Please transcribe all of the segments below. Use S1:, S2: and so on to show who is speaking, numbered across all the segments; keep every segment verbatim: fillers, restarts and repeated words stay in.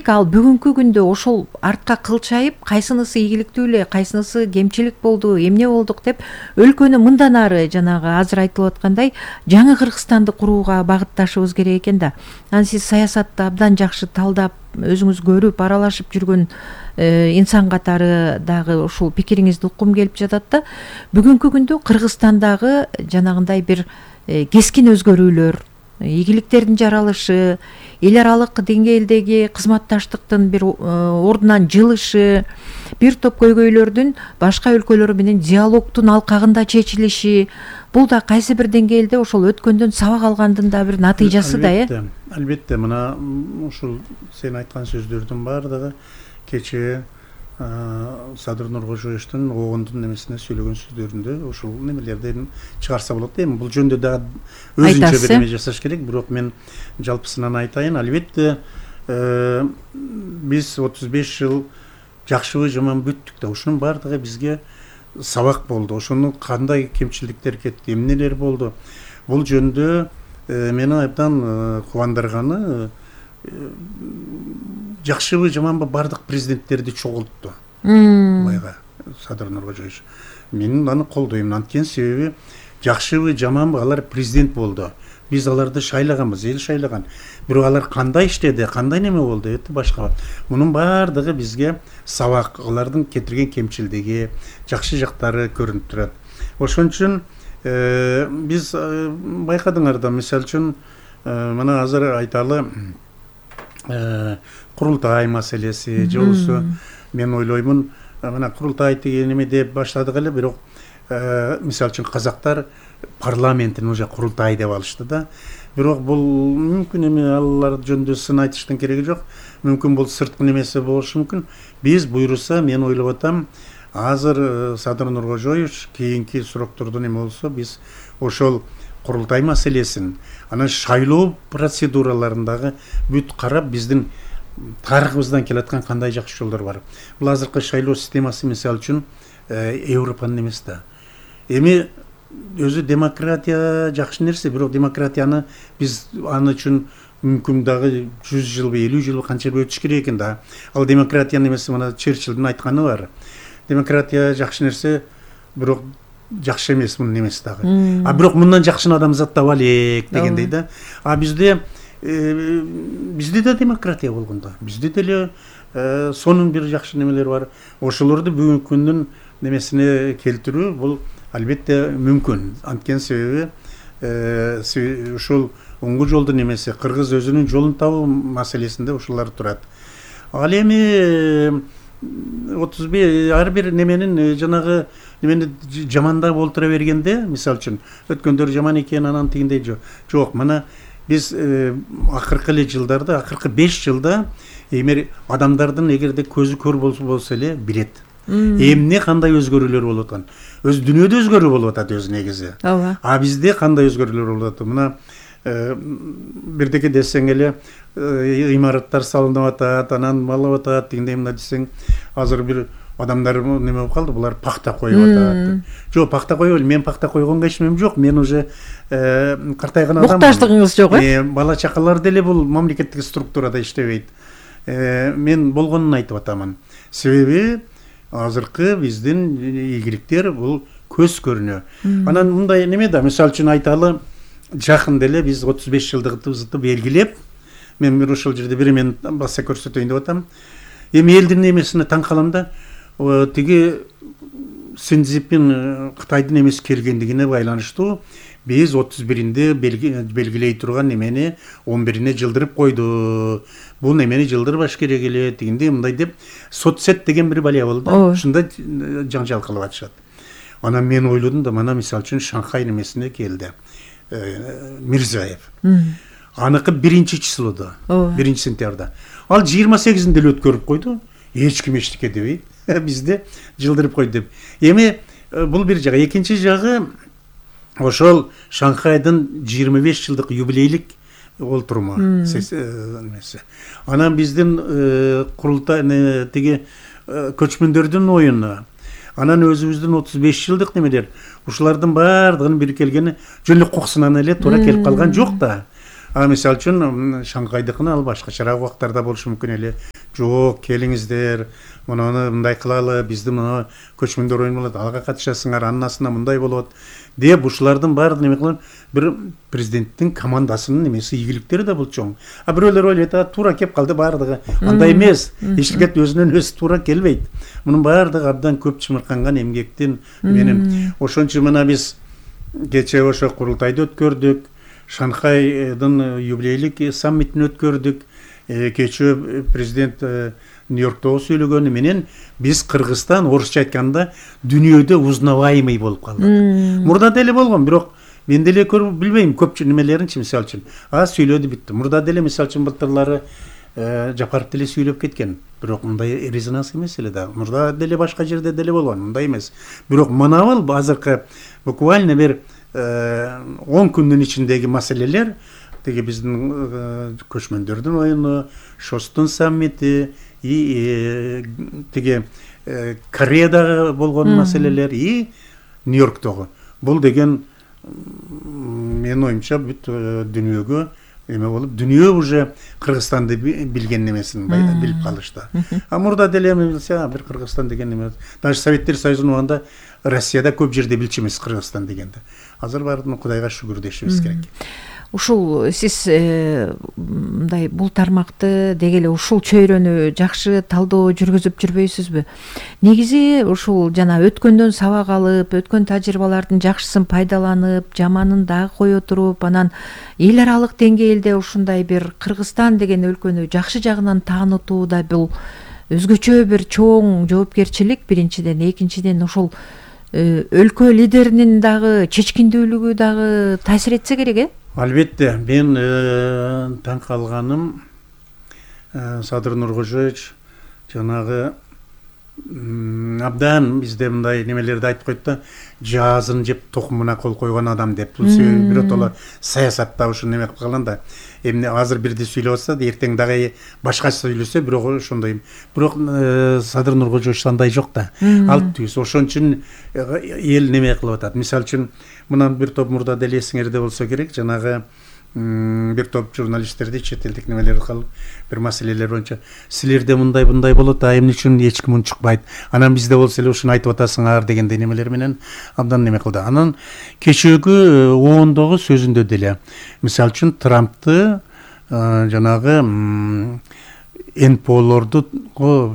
S1: демек ал бүгүнкү күндө ошол артка кылчайып, кайсынысы ийгиликтүү эле, кайсынысы кемчилик болду, эмне болдук деп өлкөнү мындан ары жанагы азыр айтылып аткандай жаңы Кыргызстанды курууга багытташыбыз керек экен да. Анан сиз саясатты абдан жакшы талдап, өзүңүз көрүп, аралашып жүргөн инсан катары дагы ушул пикириңизди уккум келип жатат да. Бүгүнкү күндө Кыргызстандагы жанагындай бир кескин өзгөрүүлөр, ийгиликтердин жаралышы, эл аралык деңгээлдеги кызматташтыктын бир ордунан жылышы, бир топ көйгөйлөрдүн башка өлкөлөр менен диалогтун алкагында чечилиши, бул да кайсы бир деңгээлде ошол өткөндөн сабак алгандын да бир натыйжасы да, э?
S2: Албетте, мына ушул сен айткан сөздөрдүн баардыгы кечээ Садыр Нуркожоевичтин огондун немесине сүйлөгөн сөздөрүндө ушул немелерден чыгарса болот. Эми бул жөнүндө дагы өзүнчө бир неме жасаш керек, бирок мен жалпысынан айтайын. Албетте, биз отуз беш жыл жакшыбы жаман бүттүк да, ушунун баардыгы бизге сабак болду. Ошону кандай кемчиликтер кетти, эмнелер болду. Бул жөнүндө мени абдан кубандырганы, жакшыбы жаманбы бардык президенттерди чогултту. Байга Садыр Нуркожоевич. Мен аны колдойм. Анткени себеби жакшыбы жаманбы алар президент болду. Биз аларды шайлаганбыз, эл шайлаган. Бирок алар кандай иштеди, кандай неме болду, эти башка. Мунун баардыгы бизге сабак, алардын кетирген кемчилдиги, жакшы жактары көрүнүп турат. Ошон үчүн биз байкадыңар да, мисалы үчүн мына азыр айталы курултай маселеси, же болбосо мен ойлоймун, мына курултай деген неме деп баштадык эле, бирок мисалы үчүн казактар парламенттин уже курултай деп алышты да. Бирок бул мүмкүн эми, алар жөнүндө сын айтыштын кереги жок. Мүмкүн бул сырткы немеси болушу мүмкүн. Биз буйруса, мен ойлоп атам, азыр Садыр Нуркожоевич кийинки суроктордо неме болсо, биз ошол курултай маселесин, анан шайлоо процедураларындагы бүт карап, биздин тарыхыбыздан келаткан кандай жакшы жолдор бар. Бул азыркы шайлоо системасы мисалы үчүн Европанын эмес да. Эми өзү демократия жакшы нерсе, бирок демократияны биз аны үчүн мүмкүн дагы жүз жылбы, элүү жылбы канча өтүш керек экен да. Ал демократиянын эмеси мына Черчиллдин айтканы бар. Демократия жакшы нерсе, бирок жакшы эмес мунун эмеси дагы. А бирок мындан жакшыны адамзат таба элек дегендей да. А бизде бизде да демократия болгон да. Бизде деле сонун бир жакшы немелер бар. Ошолорду бүгүнкү күндүн немесине келтирүү бул албетте мүмкүн. Анткени себеби ушул оңгу жолдун немеси, кыргыз өзүнүн жолун табуу маселесинде ушулар турат. Ал эми отуз беш ар бир неменин жанагы немени жамандап олтура бергенде, мисалы үчүн өткөндөр жаман экен, анан тигиндей жок. Мына биз акыркы эле жылдарда, акыркы беш жылда эмер адамдардын эгерде көзү көр болсо эле билет. Эмне кандай өзгөрүүлөр болуп аткан. Өз дүйнөдө өзгөрүү болуп атат өзү негизи. А бизде кандай өзгөрүүлөр болуп атат? Мына бирдеке десең эле имараттар салынып атат, анан малып атат, тигиндей мына десең, азыр бир адамдар неме болуп калды, булар пахта коюп атат. Жок, пахта коюп эле, мен пахта койгонго ишенем жок. Мен уже картайган адаммын.
S1: Муктаждыгыңыз жок, э?
S2: Бала чакалар деле бул мамлекеттик структурада иштебейт. Мен болгонун айтып атамын. Себеби азыркы биздин ийгиликтер бул көз көрүнө. Анан мындай неме да, мисалы үчүн айталы, жакын деле биз отуз беш жылдыгыбызды белгилеп, мен бир ушул жерде бир мен баса көрсөтөйүн деп атам. Эми элдин немесине таң калам да, тиги Синцзипин Кытайдын эмес келгендигине байланыштуу биз отуз биринде белгилей турган немени он бирине жылдырып койду. Бул немени жылдырбаш керек эле, тигинде мындай деп соцсет деген бир балия болду. Ушунда жаңжал кылып атышат. Анан мен ойлодум да, мына мисалы үчүн Шанхай немесине келди Мирзиёев. Аныкы биринчи числода, биринчи сентябрда. Ал жыйырма сегизинде эле өткөрүп койду. Эч ким эчтеке дебейт. Бизде жылдырып койду деп. Эми бул бир жагы, экинчи жагы ошол Шанхайдын жыйырма беш жылдык юбилейлик олтурма немеси. Анан биздин курултай тиги көчмөндөрдүн оюну. Анан өзүбүздүн отуз беш жылдык немелер. Ушулардын баардыгын бирикелгени жөн эле кокусунан эле туура келип калган жок да. А мисалы үчүн Шанхайдыкына ал башкачараак убактарда болушу мүмкүн эле. жок келиңиздер, мынаны мындай кылалы, бизди мына көчмөндөр оюн болот, ага катышасыңар, анын астында мындай болот деп ушулардын баардыгын эме кылып, бир президенттин командасынын эмеси ийгиликтери да бул чоң. А бирөөлөр ойлойт, а туура кеп калды баардыгы. Андай эмес. Эч жигит өзүнөн өзү туура келбейт. Мунун баардыгы абдан көп чымырканган эмгектин менен. Ошон үчүн мына биз кечээ ошо курултайды өткөрдүк, Шанхайдын юбилейлик саммитин өткөрдүк. Кечээ президент Нью-Йорктогу сүйлөгөнү менен биз Кыргызстан орусча айтканда дүйнөдө узнаваемый болуп калдык. Мурда деле болгон, бирок мен деле көрүп билбейм көпчү немелеринчи, мисалы үчүн. А сүйлөдү битти. Мурда деле мисалы үчүн былтырлары Жапаров деле сүйлөп кеткен. Бирок мындай резонанс эмес эле да. Мурда деле башка жерде деле болгон, мындай эмес. Бирок мынабыл азыркы буквально бир он күндүн ичиндеги маселелер, теги биздин көчмөндөрдүн оюну, Шостун саммити, и теги Кореядагы болгон маселелер, и Нью-Йорктогу. Бул деген менин оюмча бүт дүйнөгө эме болуп, дүйнө уже Кыргызстанды билген немесин билип калышты. А мурда деле эме билсе, бир Кыргызстан деген эме. Даже Советтер Союзунун убагында Россияда көп жерде билчү эмес Кыргызстан дегенде. Азыр баардыгын Кудайга шүгүр дешибиз керек.
S1: Ушул сиз мындай бул тармакты дегеле ушул чөйрөнү жакшы талдоо жүргүзүп жүрбөйсүзбү? Негизи ушул жана өткөндөн сабак алып, өткөн тажрыйбалардын жакшысын пайдаланып, жаманын дагы кое туруп, анан эл аралык деңгээлде ушундай бир Кыргызстан деген өлкөнү жакшы жагынан таанытуу да бул өзгөчө бир чоң жоопкерчилик биринчиден, экинчиден ошол өлкө лидеринин дагы чечкиндүүлүгү дагы таасир этсе керек, э?
S2: Албетте, мен таң калганым Садыр Нуркожоевич жанагы абдан бизде мындай немелерди айтып койт да, жазын жеп токумуна кол койгон адам деп. Бул биротоло саясатта ушун неме кылып калган да. Эмне азыр бирди сүйлөп атса, эртең дагы башка сүйлөсө, бирок ошондой. Бирок Садыр Нуркожоевич андай жок да. Ал түз. Ошон үчүн эл неме кылып атат. Мисалы үчүн мындан бир топ мурда деле эсиңерде болсо керек, жанагы бир топ журналисттерди чет элдик немелер калып, бир маселелер боюнча силерде мындай мындай болот, а эмне үчүн эч ким унчукпайт? Анан бизде болсо эле ушуну айтып атасыңар дегендей немелер менен абдан неме кылды. Анан кечээкү оондогу сөзүндө деле мисалы үчүн Трампты жанагы эн пэ олорду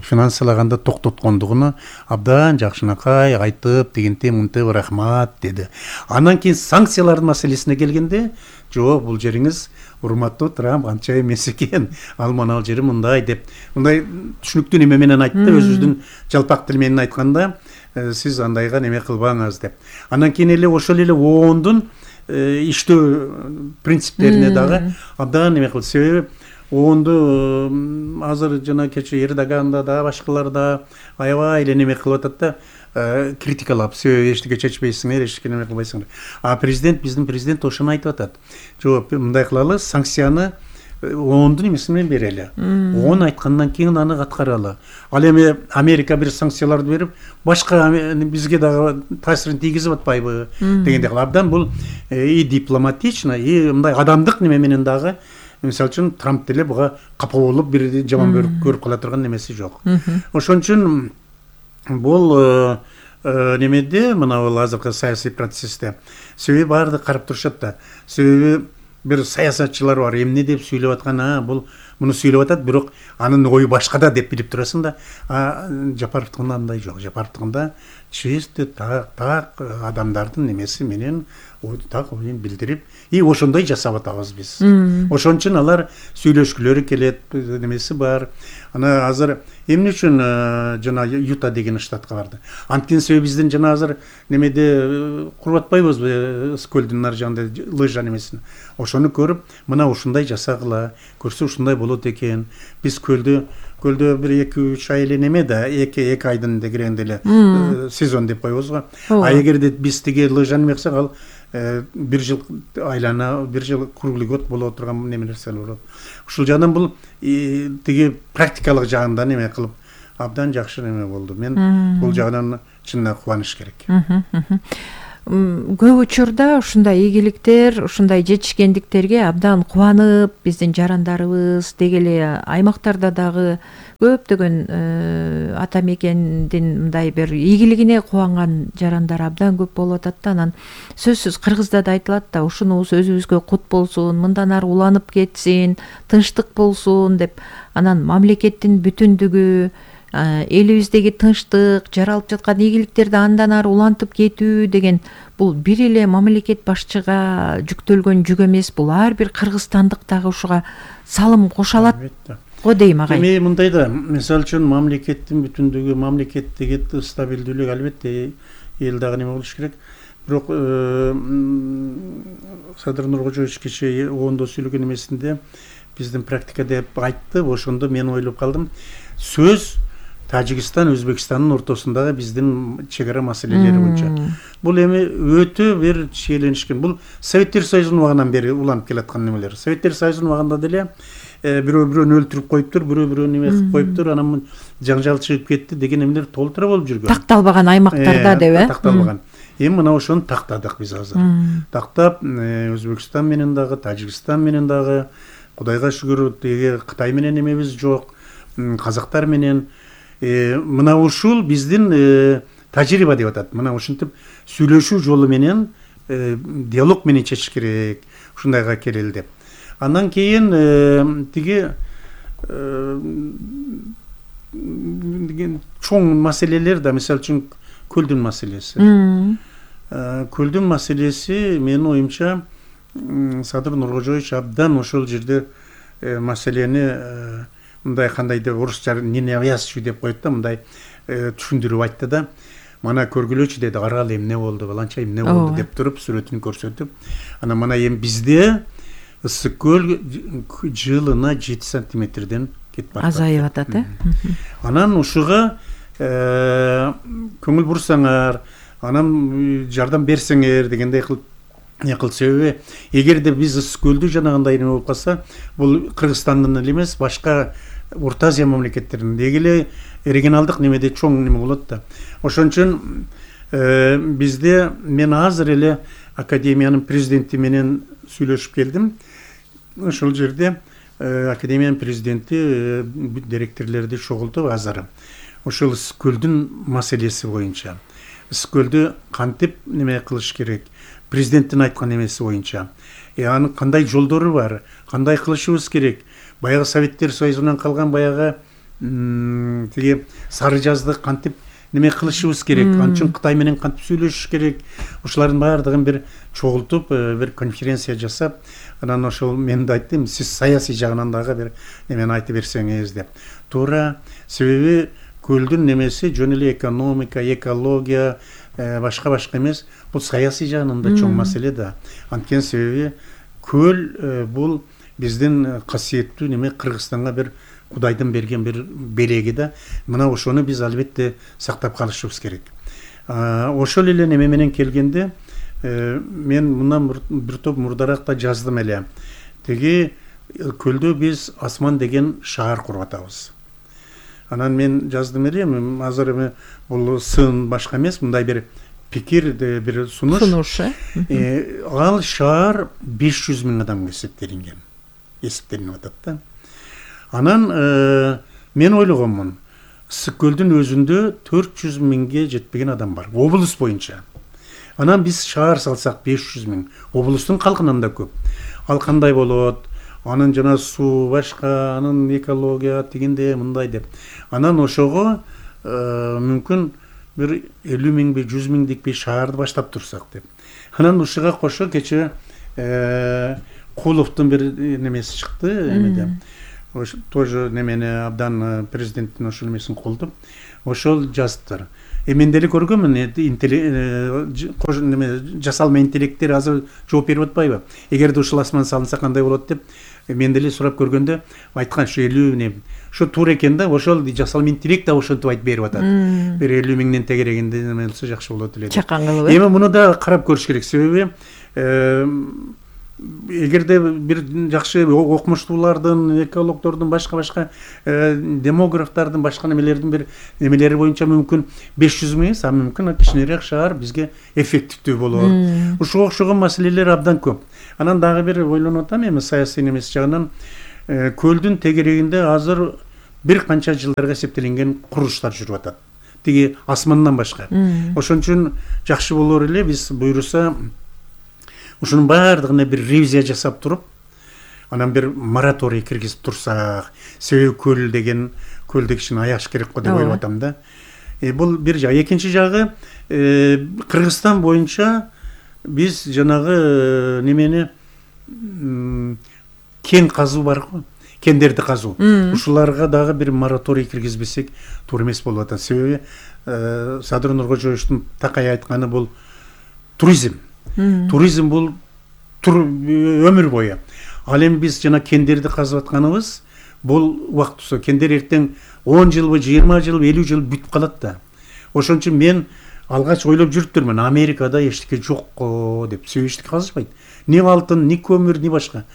S2: финансалаганда токтоткондугуну абдан жакшынакай айтып, дегенте мынтип рахмат деди. Анан кийин санкциялардын маселесине келгенде, жок, бул жериңиз урматтуу Трамп анча эмес экен, ал манал жери мындай деп, мындай түшүнүктүү неме менен айтты, өзүбүздүн жалпак тил менен айтканда, сиз андайга неме кылбаңыз деп. Анан кийин эле ошол эле оондун иштөө принциптерине дагы абдан неме кылды. Себеби оондо азыр жана кечээ Эрдоганда да башкалар да аябай эле неме кылып атат да, критикалап, себеби эчтеке чечпейсиңер, эчтеке неме кылбайсыңар. А президент, биздин президент ошону айтып атат. Жок, мындай кылалы, санкцияны оондун эмеси менен берели. ООН айткандан кийин аны аткаралы. Ал эми Америка бир санкцияларды берип, башка бизге дагы таасирин тийгизип атпайбы дегендей. Абдан бул и дипломатично, и мындай адамдык неме менен дагы, мисалы үчүн Трамп деле буга капа болуп бир жаман көрүп кала турган немеси жок. Ошон үчүн бул немеде, мына бул азыркы саясий процессте себеби баардыгы карап турушат да. Себеби бир саясатчылар бар, эмне деп сүйлөп аткан, а бул муну сүйлөп атат, бирок анын ою башкада деп билип турасың да. А Жапаровдукунда андай жок. Жапаровдукунда чисто так так адамдардын немеси менен так оюн билдирип, и ошондой жасап атабыз биз. Ошон үчүн алар сүйлөшкүлөрү келет, немеси бар. Ана азыр эмне үчүн жана Юта деген штатка барды. Анткени себеби биздин жана азыр немеде куруп атпайбызбы, көлдүн ар жагында лыжа немесин. Ошону көрүп, мына ушундай жасагыла, көрсө ушундай болот экен. Биз көлдү көлдө бир эки үч ай эле неме да, эки эки айдын дегенде эле сезон деп коебуз го. А эгерде биз тиги лыжаны мексак, ал бир жыл айлана, бир жыл круглый год боло турган неме нерселер болот. Ушул жагынан бул тиги практикалык жагында неме кылып абдан жакшы неме болду. Мен бул жагынан чынында кубаныш керек.
S1: Көп учурда ушундай ийгиликтер, ушундай жетишкендиктерге абдан кубанып, биздин жарандарыбыз дегеле аймактарда дагы көптөгөн ата мекендин мындай бир ийгилигине кубанган жарандар абдан көп болуп атат да. Анан сөзсүз Кыргызда да айтылат да, ушунубуз өзүбүзгө кут болсун, мындан ары уланып кетсин, тынчтык болсун деп. Анан мамлекеттин бүтүндүгү, элибиздеги тынчтык, жаралып жаткан ийгиликтерди андан ары улантып кетүү деген бул бир эле мамлекет башчыга жүктөлгөн жүк эмес, бул ар бир кыргызстандык дагы ушуга салым кошо алат го дейм агай.
S2: Эми мындай да, мисалы үчүн мамлекеттин бүтүндүгү, мамлекеттеги стабилдүүлүк албетте эл дагы неме болуш керек. Бирок Садыр Нуркожоевич кечээ оондо сүйлөгөн эмесинде биздин практика деп айтты. Ошондо мен ойлоп калдым. Сөз Тажикстан, Өзбекстандын ортосундагы биздин чек ара маселелери боюнча. Бул эми өтө бир шиеленишкен. Бул Советтер Союзунун убагынан бери уланып келаткан немелер. Советтер Союзунун убагында деле бирөө-бирөөнү өлтүрүп коюптур, бирөө-бирөөнү неме кылып коюптур, анан жаңжал чыгып кетти деген эмелер толтура болуп жүргөн.
S1: Такталбаган аймактарда деп, э?
S2: Такталбаган. Эми мына ошону тактадык биз азыр. Тактап, Өзбекстан менен дагы, Тажикстан менен дагы, Кудайга шүгүр, деги Кытай менен эмебиз жок, казактар менен мына ушул биздин тажрыйба деп атат. Мына ушинтип сүйлөшүү жолу менен, диалог менен чечиш керек, ушундайга келели деп. Андан кийин тиги чоң маселелер да, мисалы үчүн көлдүн маселеси. Көлдүн маселеси менин оюмча Садыр Нуркожоевич абдан ошол жерде маселени мындай кандайдыр орусча не навязчивый деп коет да, мындай түшүндүрүп айтты да. Мана көргүлөчү деди, арал эмне болду, баланча эмне болду деп туруп сүрөтүн көрсөтүп. Анан мына эми бизде ысык көл жылына жети сантиметрден кетип барат.
S1: Азайып атат, э?
S2: Анан ушуга көңүл бурсаңар, анан жардам берсеңер дегендей кылып не кыл. Себеби эгерде биз ысык көлдү жанагындай неме болуп калса, бул Кыргызстандын эле эмес, башка Орто Азия мамлекеттеринин дегеле регионалдык немеде чоң неме болот да. Ошон үчүн бизде мен азыр эле академиянын президенти менен сүйлөшүп келдим. Ошол жерде академиянын президенти директорлорду чогултуп азыр ошол ысык көлдүн маселеси боюнча, ысык көлдү кантип неме кылыш керек, президенттин айткан эмеси боюнча, анын кандай жолдору бар, кандай кылышыбыз керек, баягы Советтер Союзунан калган баягы тиги сары жазды кантип неме кылышыбыз керек, анчын Кытай менен кантип сүйлөшүш керек, ушулардын баардыгын бир чогултуп, бир конференция жасап, анан ошол мен да айттым, сиз саясий жагынан дагы бир немени айтып берсеңиз деп. Туура, себеби көлдүн немеси жөн эле экономика, экология, башка-башка эмес, бул саясий жагынан да чоң маселе да. Анткени себеби көл бул биздин касиеттүү неме, Кыргызстанга бир Кудайдын берген бир белеги да. Мына ошону биз албетте сактап калышыбыз керек. Ошол эле неме менен келгенде мен мындан бир топ мурдараак да жаздым эле. Теги көлдө биз Асман деген шаар куруп атабыз. Анан мен жаздым эле, азыр эми бул сын башка эмес, мындай бир пикир, бир сунуш.
S1: Сунуш,
S2: э? Ал шаар беш жүз миң адамга эсептелинген. Эсептелинип атат да. Анан мен ойлогонмун, ысык көлдүн өзүндө төрт жүз миңге жетпеген адам бар, облус боюнча. Анан биз шаар салсак беш жүз миң, облустун калкынан да көп. Ал кандай болот? Анын жана суу башка, анын экология тигинде мындай деп. Анан ошого мүмкүн бир элүү миң, жүз миңдик бир шаарды баштап турсак деп. Анан ушуга кошо кече Куловдун бир немеси чыкты, эмеде. Тоже немени абдан президенттин ошол эмесин колдоп, ошол жазыптыр. Мен деле көргөнмүн, жасалма интеллекттер азыр жооп берип атпайбы? Эгерде ушул асман салынса кандай болот деп, мен деле сурап көргөндө айткан ушу элүү миң. Ошо туура экен да, ошол жасалма интеллект да ошентип айтып берип атат. Бир элүү миңден тегерегинде неме болсо жакшы болот эле.
S1: Чакан кылып.
S2: Эми муну да карап көрүш керек, себеби эгерде бир жакшы окумуштуулардын, экологдордун, башка-башка демографтардын, башка немелердин бир немелери боюнча мүмкүн беш жүз миң, а мүмкүн кичинерээк шаар бизге эффективдүү болор. Ушуга окшогон маселелер абдан көп. Анан дагы бир ойлонуп атам, эми саясий немеси жагынан көлдүн тегерегинде азыр бир канча жылдарга эсептелинген курулуштар жүрүп атат. Тиги асмандан башка. Ошон үчүн жакшы болор эле биз буйруса ушунун баардыгына бир ревизия жасап туруп, анан бир мораторий киргизип турсак, себеби көл деген көлдө кичине аяш керек го деп ойлоп атам да. Э, бул бир жагы. Экинчи жагы, э, Кыргызстан боюнча биз жанагы немени кен казуу бар го, кендерди казуу. Ушуларга дагы бир мораторий киргизбесек туура эмес болуп атат. Себеби э, Садыр Нуркожоевичтин такай айтканы бул туризм. Туризм бул өмүр бою. Ал эми биз жана кендерди казып атканыбыз бул убактысы. Кендер эртең он жылбы, жыйырма жыл, элүү жыл бүтүп калат да. Ошон үчүн мен алгач ойлоп жүрүптүрмүн, Америкада эчтеке жок го деп. Себеби эчтеке казышпайт. Ни алтын, ни көмүр, ни башка.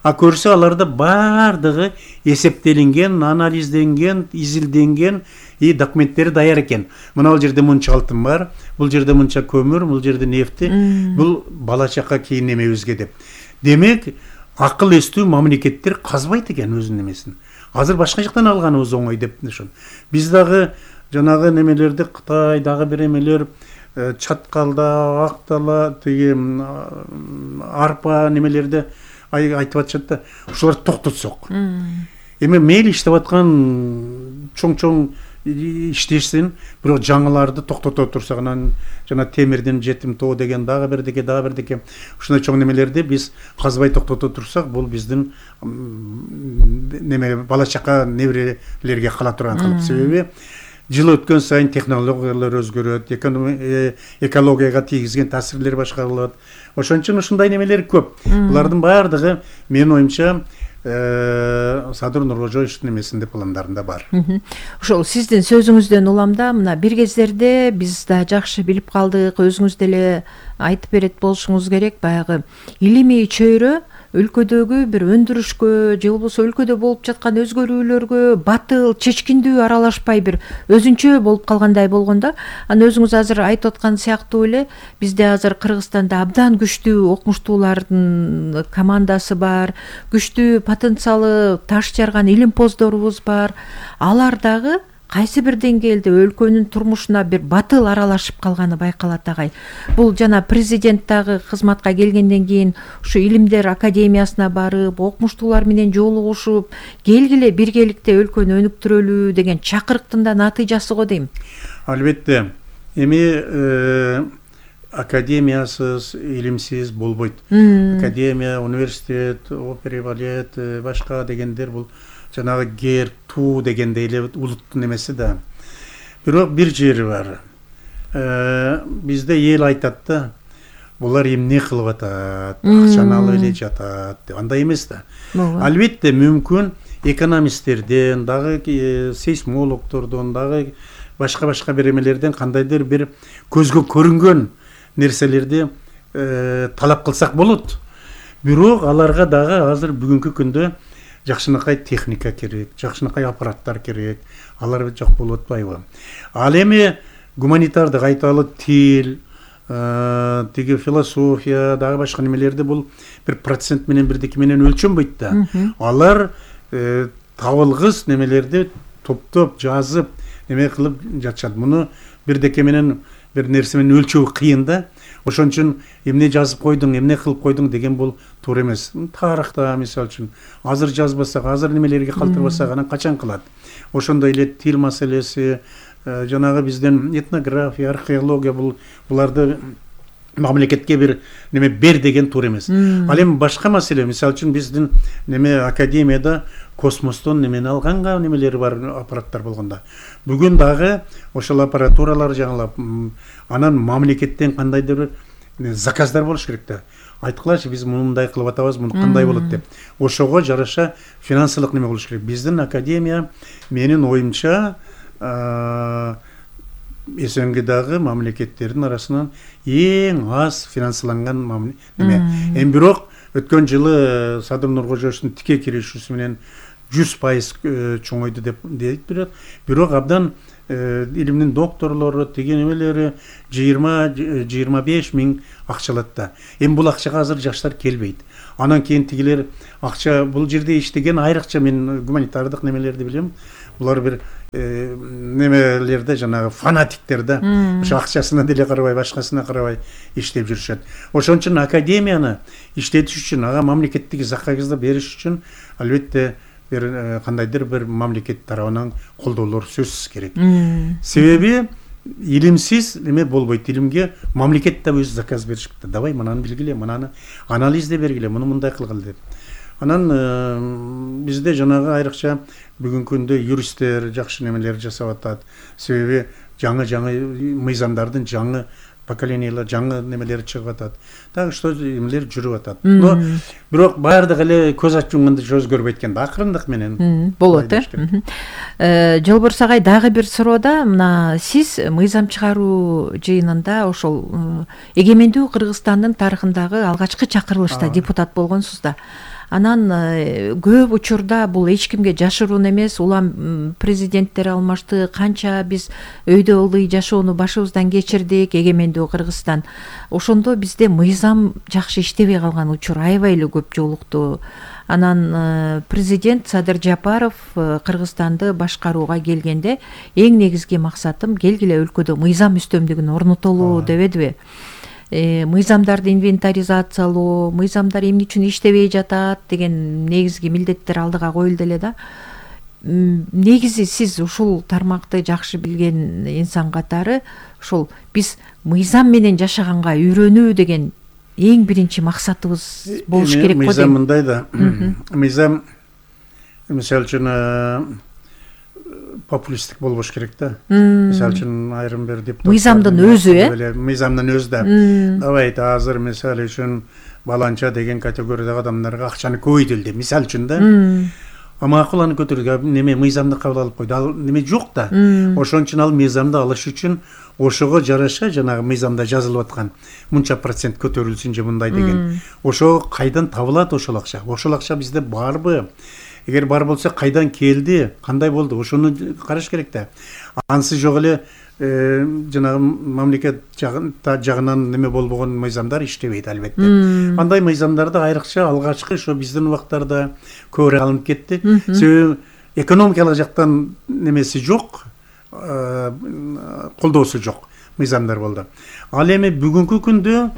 S2: А көрсө аларда баардыгы эсептелинген, анализденген, изилденген и документтери даяр экен. Мына жерде мынча алтын бар, бул жерде мынча көмүр, бул жерде нефти, бул бала чака кийин немебизге деп. Демек, акыл эстүү мамлекеттер казбайт экен өзүнүн немесин. Азыр башка жактан алганыбыз оңой деп ошон. Биз дагы жанагы немелерди Кытай дагы бир эмелер чаткалда, актала, тиги арпа немелерди айтып атышат да, ушуларды токтотсок. Эми мейли иштеп аткан чоң-чоң иштешсин, бирок жаңыларды токтото турсак, анан жана темирдин жетим тоо деген дагы бирдеке, дагы бирдеке, ушундай чоң немелерди биз казбай токтото турсак, бул биздин неме бала чака неберелерге кала турган кылып. Себеби жыл өткөн сайын технологиялар өзгөрөт, экологияга тийгизген таасирлер башка болот. Ошон үчүн ушундай немелер көп. Булардын баардыгы менин оюмча Садыр Нуркожоевичтин эмесинде пландарында бар.
S1: Ошол сиздин сөзүңүздөн уламда мына бир кездерде биз да жакшы билип калдык, өзүңүз деле айтып берет болушуңуз керек, баягы илимий чөйрө өлкөдөгү бир өндүрүшкө же болбосо өлкөдө болуп жаткан өзгөрүүлөргө батыл, чечкиндүү аралашпай бир өзүнчө болуп калгандай болгондо, аны өзүңүз азыр айтып аткан сыяктуу эле бизде азыр Кыргызстанда абдан күчтүү окумуштуулардын командасы бар, күчтүү потенциалы таш жарган илимпоздорубуз бар. Алар дагы кайсы бир деңгээлде өлкөнүн турмушуна бир батыл аралашып калганы байкалат агай. Бул жана президент дагы кызматка келгенден кийин ушу илимдер академиясына барып, окумуштуулар менен жолугушуп, келгиле биргеликте өлкөнү өнүктүрөлү деген чакырыктын да натыйжасы го дейм.
S2: Албетте. Эми академиясыз, илимсиз болбойт. Академия, университет, опера, балет, башка дегендер бул жанагы гер, туу дегендей эле улуттун эмеси да. Бирок бир жери бар. Бизде эл айтат да, булар эмне кылып атат, акчаны алып эле жатат деп. Андай эмес да. Албетте мүмкүн экономисттерден, дагы сейсмологдордон, дагы башка-башка бир эмелерден кандайдыр бир көзгө көрүнгөн нерселерди талап кылсак болот. Бирок аларга дагы азыр бүгүнкү күндө жакшынакай техника керек, жакшынакай аппараттар керек. Алар жок болуп атпайбы? Ал эми гуманитардык айталы тил, тиги философия, дагы башка немелерди бул бир процент менен бирдеке менен өлчөнбөйт да. Алар табылгыс немелерди топтоп, жазып, неме кылып жатышат. Муну бирдеке менен бир нерсе менен өлчөө кыйын да. Ошон үчүн эмне жазып койдуң, эмне кылып койдуң деген бул туура эмес. Тарыхта мисалы үчүн азыр жазбасак, азыр немелерге калтырбасак, анан качан кылат? Ошондой эле тил маселеси, жанагы бизден этнография, археология бул буларды мамлекетке бир неме бер деген туура эмес. Ал эми башка маселе, мисалы үчүн биздин неме академияда космостон немени алганга немелери бар, аппараттар болгондо. Бүгүн дагы ошол аппаратуралар жаңылап, анан мамлекеттен кандайдыр бир заказдар болуш керек да. Айткылачы, биз мындай кылып атабыз, муну кандай болот деп. Ошого жараша финансылык неме болуш керек. Биздин академия менин оюмча СНГдагы мамлекеттердин арасынан эң аз финансыланган неме. Эми бирок өткөн жылы Садыр Нуркожоевичтин тике киришүүсү менен жүз пайыз чоңойду деп дейт бирок, бирок абдан илимдин докторлору, тиги немелери жыйырма жыйырма беш миң акчалат да. Эми бул акчага азыр жаштар келбейт. Анан кийин тигилер акча бул жерде иштеген айрыкча мен гуманитардык немелерди билем. булар бир немелерде жанагы фанатиктер да, ошо акчасына деле карабай, башкасына карабай иштеп жүрүшөт. Ошон үчүн академияны иштетиш үчүн, ага мамлекеттик заказды бериш үчүн албетте бир кандайдыр бир мамлекет тарабынан колдоолор сөзсүз керек. Себеби илимсиз эме болбойт. Илимге мамлекет да өз заказ беришипти. Давай мынаны билгиле, мынаны анализде бергиле, муну мындай кылгыла деп. Анан бизде жанагы айрыкча бүгүнкү күндө юристтер жакшы немелер жасап атат. Себеби жаңы-жаңы мыйзамдардын жаңы поколениялар, жаңы немелери чыгып атат. Так что эмелер жүрүп атат. Но бирок баардыгы эле көз ачып жумганда өзгөрбөйт экен да, акырындык менен
S1: болот э. Жолборс агай, дагы бир суроода, мына сиз мыйзам чыгаруу жыйынында ошол эгемендүү Кыргызстандын тарыхындагы алгачкы чакырылышта депутат болгонсуз да. Анан көп учурда бул эч кимге жашыруун эмес, улам президенттер алмашты, канча биз өйдө ылдый жашоону башыбыздан кечирдик, эгемендүү Кыргызстан. Ошондо бизде мыйзам жакшы иштебей калган учур аябай эле көп жолукту. Анан президент Садыр Жапаров Кыргызстанды башкарууга келгенде эң негизги максатым келгиле өлкөдө мыйзам үстөмдүгүн орнотолу дебедиби? Мыйзамдарды инвентаризациялоо, мыйзамдар эмне үчүн иштебей жатат деген негизги милдеттер алдыга коюлду эле да. Негизи сиз ушул тармакты жакшы билген инсан катары ошол биз мыйзам менен жашаганга үйрөнүү деген эң биринчи максатыбыз болуш керек го дейм.
S2: Мыйзам мындай да. Мыйзам мисалы үчүн популисттик болбош керек да. Мисалы үчүн айрым бир депутат
S1: мыйзамдын өзү, э?
S2: Мыйзамдын өзү да. Давайте азыр мисалы үчүн баланча деген категориядагы адамдарга акчаны көбөйтөлү деп, мисалы үчүн да. А макул аны көтөрүүгө неме мыйзамды кабыл алып койду. Ал неме жок да. Ошон үчүн ал мыйзамды алыш үчүн ошого жараша жанагы мыйзамда жазылып аткан мынча процент көтөрүлсүн же мындай деген. Ошо кайдан табылат ошол акча? Ошол акча бизде барбы? Эгер бар болсо кайдан келди, кандай болду, ошону караш керек да. Ансыз жок эле жанагы мамлекет жагынан неме болбогон мыйзамдар иштебейт албетте. Андай мыйзамдарды айрыкча алгачкы ошо биздин убактарда көбүрөөк алынып кетти. Себеби экономикалык жактан немеси жок, колдоосу жок мыйзамдар болду. Ал эми бүгүнкү күндө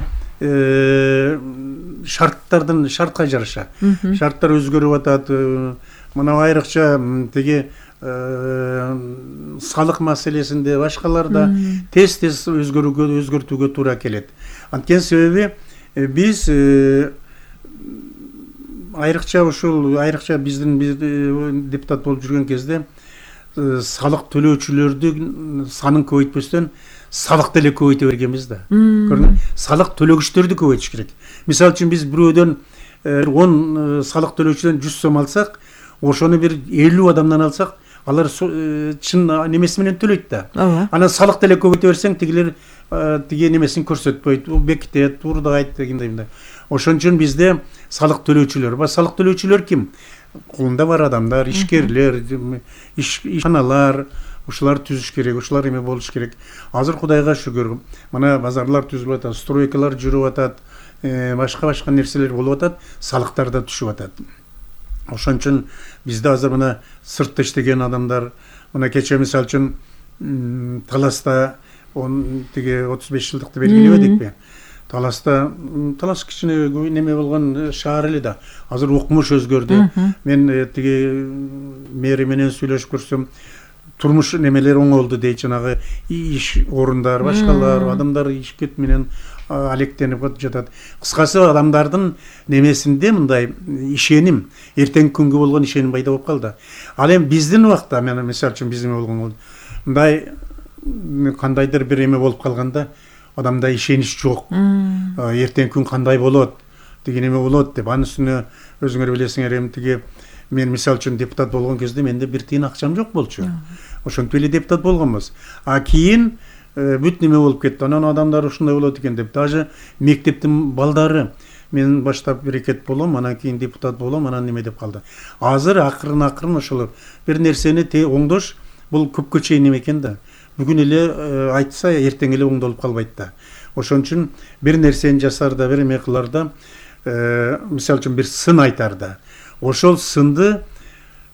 S2: шарттардын шартка жараша шарттар өзгөрүп атат. Мына айрыкча тиги салык маселесинде, башкаларда тез-тез өзгөрүүгө, өзгөртүүгө туура келет. Анткени себеби биз айрыкча ушул айрыкча биздин депутат болуп жүргөн кезде салык төлөөчүлөрдүн санын көбөйтпөстөн салык деле көбөйтө бергенбиз да. Көрдүңбү? Салык төлөгүчтөрдү көбөйтүш керек. Мисалы үчүн биз бирөөдөн он салык төлөөчүдөн жүз сом алсак, ошону бир элүү адамдан алсак, алар чын немеси менен төлөйт да. Анан салык деле көбөйтө берсең, тигилер тиги немесин көрсөтпөйт, бекитет, урдайт дегендей. Ошон үчүн бизде салык төлөөчүлөр бар. Салык төлөөчүлөр ким? Колунда бар адамдар, ишкерлер, ишканалар, ушулар түзүш керек, ушулар эме болуш керек. Азыр Кудайга шүгүр, мына базарлар түзүлүп атат, стройкалар жүрүп атат, башка-башка нерселер болуп атат, салыктар да түшүп атат. Ошон үчүн бизде азыр мына сыртта иштеген адамдар, мына кече мисалы үчүн Таласта тиги отуз беш жылдыкты белгилебедикпи? Таласта Талас кичине неме болгон шаар эле да. Азыр укмуш өзгөрдү. Мен тиги мэри менен сүйлөшүп көрсөм, турмуш немелер оңолду дейт, жанагы иш орундар, башкалар, адамдар ишкет менен алектенип жатат. Кыскасы адамдардын немесинде мындай ишеним, эртеңки күнгө болгон ишеним пайда болуп калды. Ал эми биздин убакта, мен мисалы үчүн биздин болгон мындай кандайдыр бир эме болуп калганда адамда ишенич жок. Эртеңки күн кандай болот, деген эме болот деп, анын үстүнө өзүңөр билесиңер, эми тиги мен мисалы үчүн депутат болгон кезде менде бир тиын акчам жок болчу. Ошентип эле депутат болгонбуз. А кийин бүт неме болуп кетти. Анан адамдар ушундай болот экен деп, даже мектептин балдары мен баштап берекет болом, анан кийин депутат болом, анан неме деп калды. Азыр акырын-акырын ошол бир нерсени оңдош бул көпкө чейин неме экен да. Бүгүн эле айтса, эртең эле оңдолуп калбайт да. Ошон үчүн бир нерсени жасарда, бир эме кыларда, мисалы үчүн бир сын айтарда, ошол сынды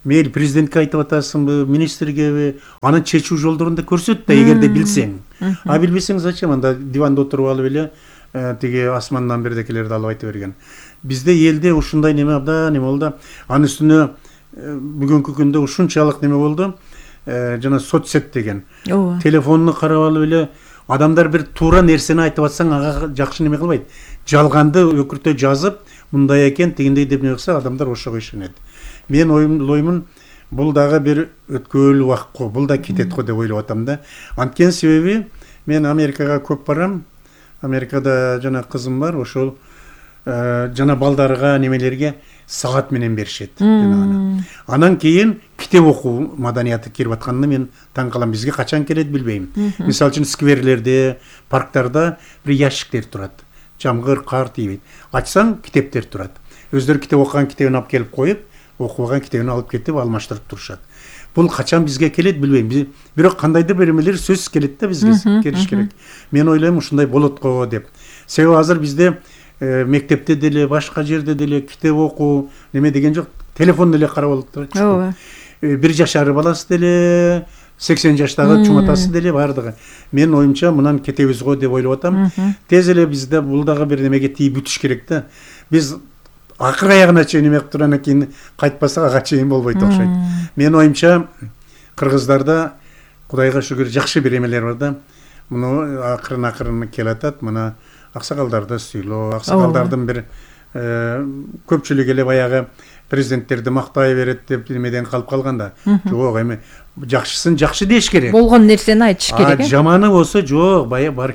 S2: мейли президентке айтып атасыңбы, министргеби, анын чечүү жолдорун да көрсөт да, эгерде билсең. А билбесең зачем анда диванда отуруп алып эле тиги асмандан бирдекелерди алып айта берген. Бизде элде ушундай неме абдан неме болду. Анын үстүнө бүгүнкү күндө ушунчалык неме болду. Жана соцсет деген. Телефонуну карап алып эле адамдар бир туура нерсени айтып атсаң, ага жакшы неме кылбайт. Жалганды өкүртө жазып, мындай экен, тигиндей деп неме кылса, адамдар ошого ишенет. Мен ойлоймун, бул дагы бир өткөөлүү убакыт го, бул да кетет го деп ойлоп атам да. Анткени себеби мен Америкага көп барам. Америкада жана кызым бар, ошол жана балдарга немелерге саат менен беришет. Анан кийин китеп окуу маданияты кирип атканына мен таң калам. Бизге качан келет билбейм. Мисалы үчүн скверлерде, парктарда бир ящиктер турат. Жамгыр, кар тийбейт. Ачсаң китептер турат. Өздөрү китеп окуган китебин алып келип коюп, окубаган китебин алып кетип алмаштырып турушат. Бул качан бизге келет билбейм. Бирок кандайдыр бир эмелер сөзсүз келет да бизге, келиш керек. Мен ойлойм ушундай болот го деп. Себеби азыр бизде мектепте деле, башка жерде деле китеп окуу неме деген жок. Телефон деле карап алып
S1: Ооба.
S2: Бир жашар баласы деле, сексен жаштагы чуматасы деле бардыгы. Мен оюмча мындан кетебиз го деп ойлоп атам. Тез эле бизде бул дагы бир немеге тийип бүтүш керек да. Биз акыр аягына чейин неме кылып турандан кийин кайтпасак ага чейин болбойт окшойт. Мен оюмча кыргыздарда Кудайга шүгүр жакшы бир эмелер бар да. Муну акырын акырын келатат. Мына аксакалдарды сүйлөө, аксакалдардын бир көпчүлүгү эле баягы президенттерди мактай берет деп немеден калып калганда. Жок, эми жакшысын жакшы деш керек.
S1: Болгон нерсени айтыш керек.
S2: А жаманы болсо жок,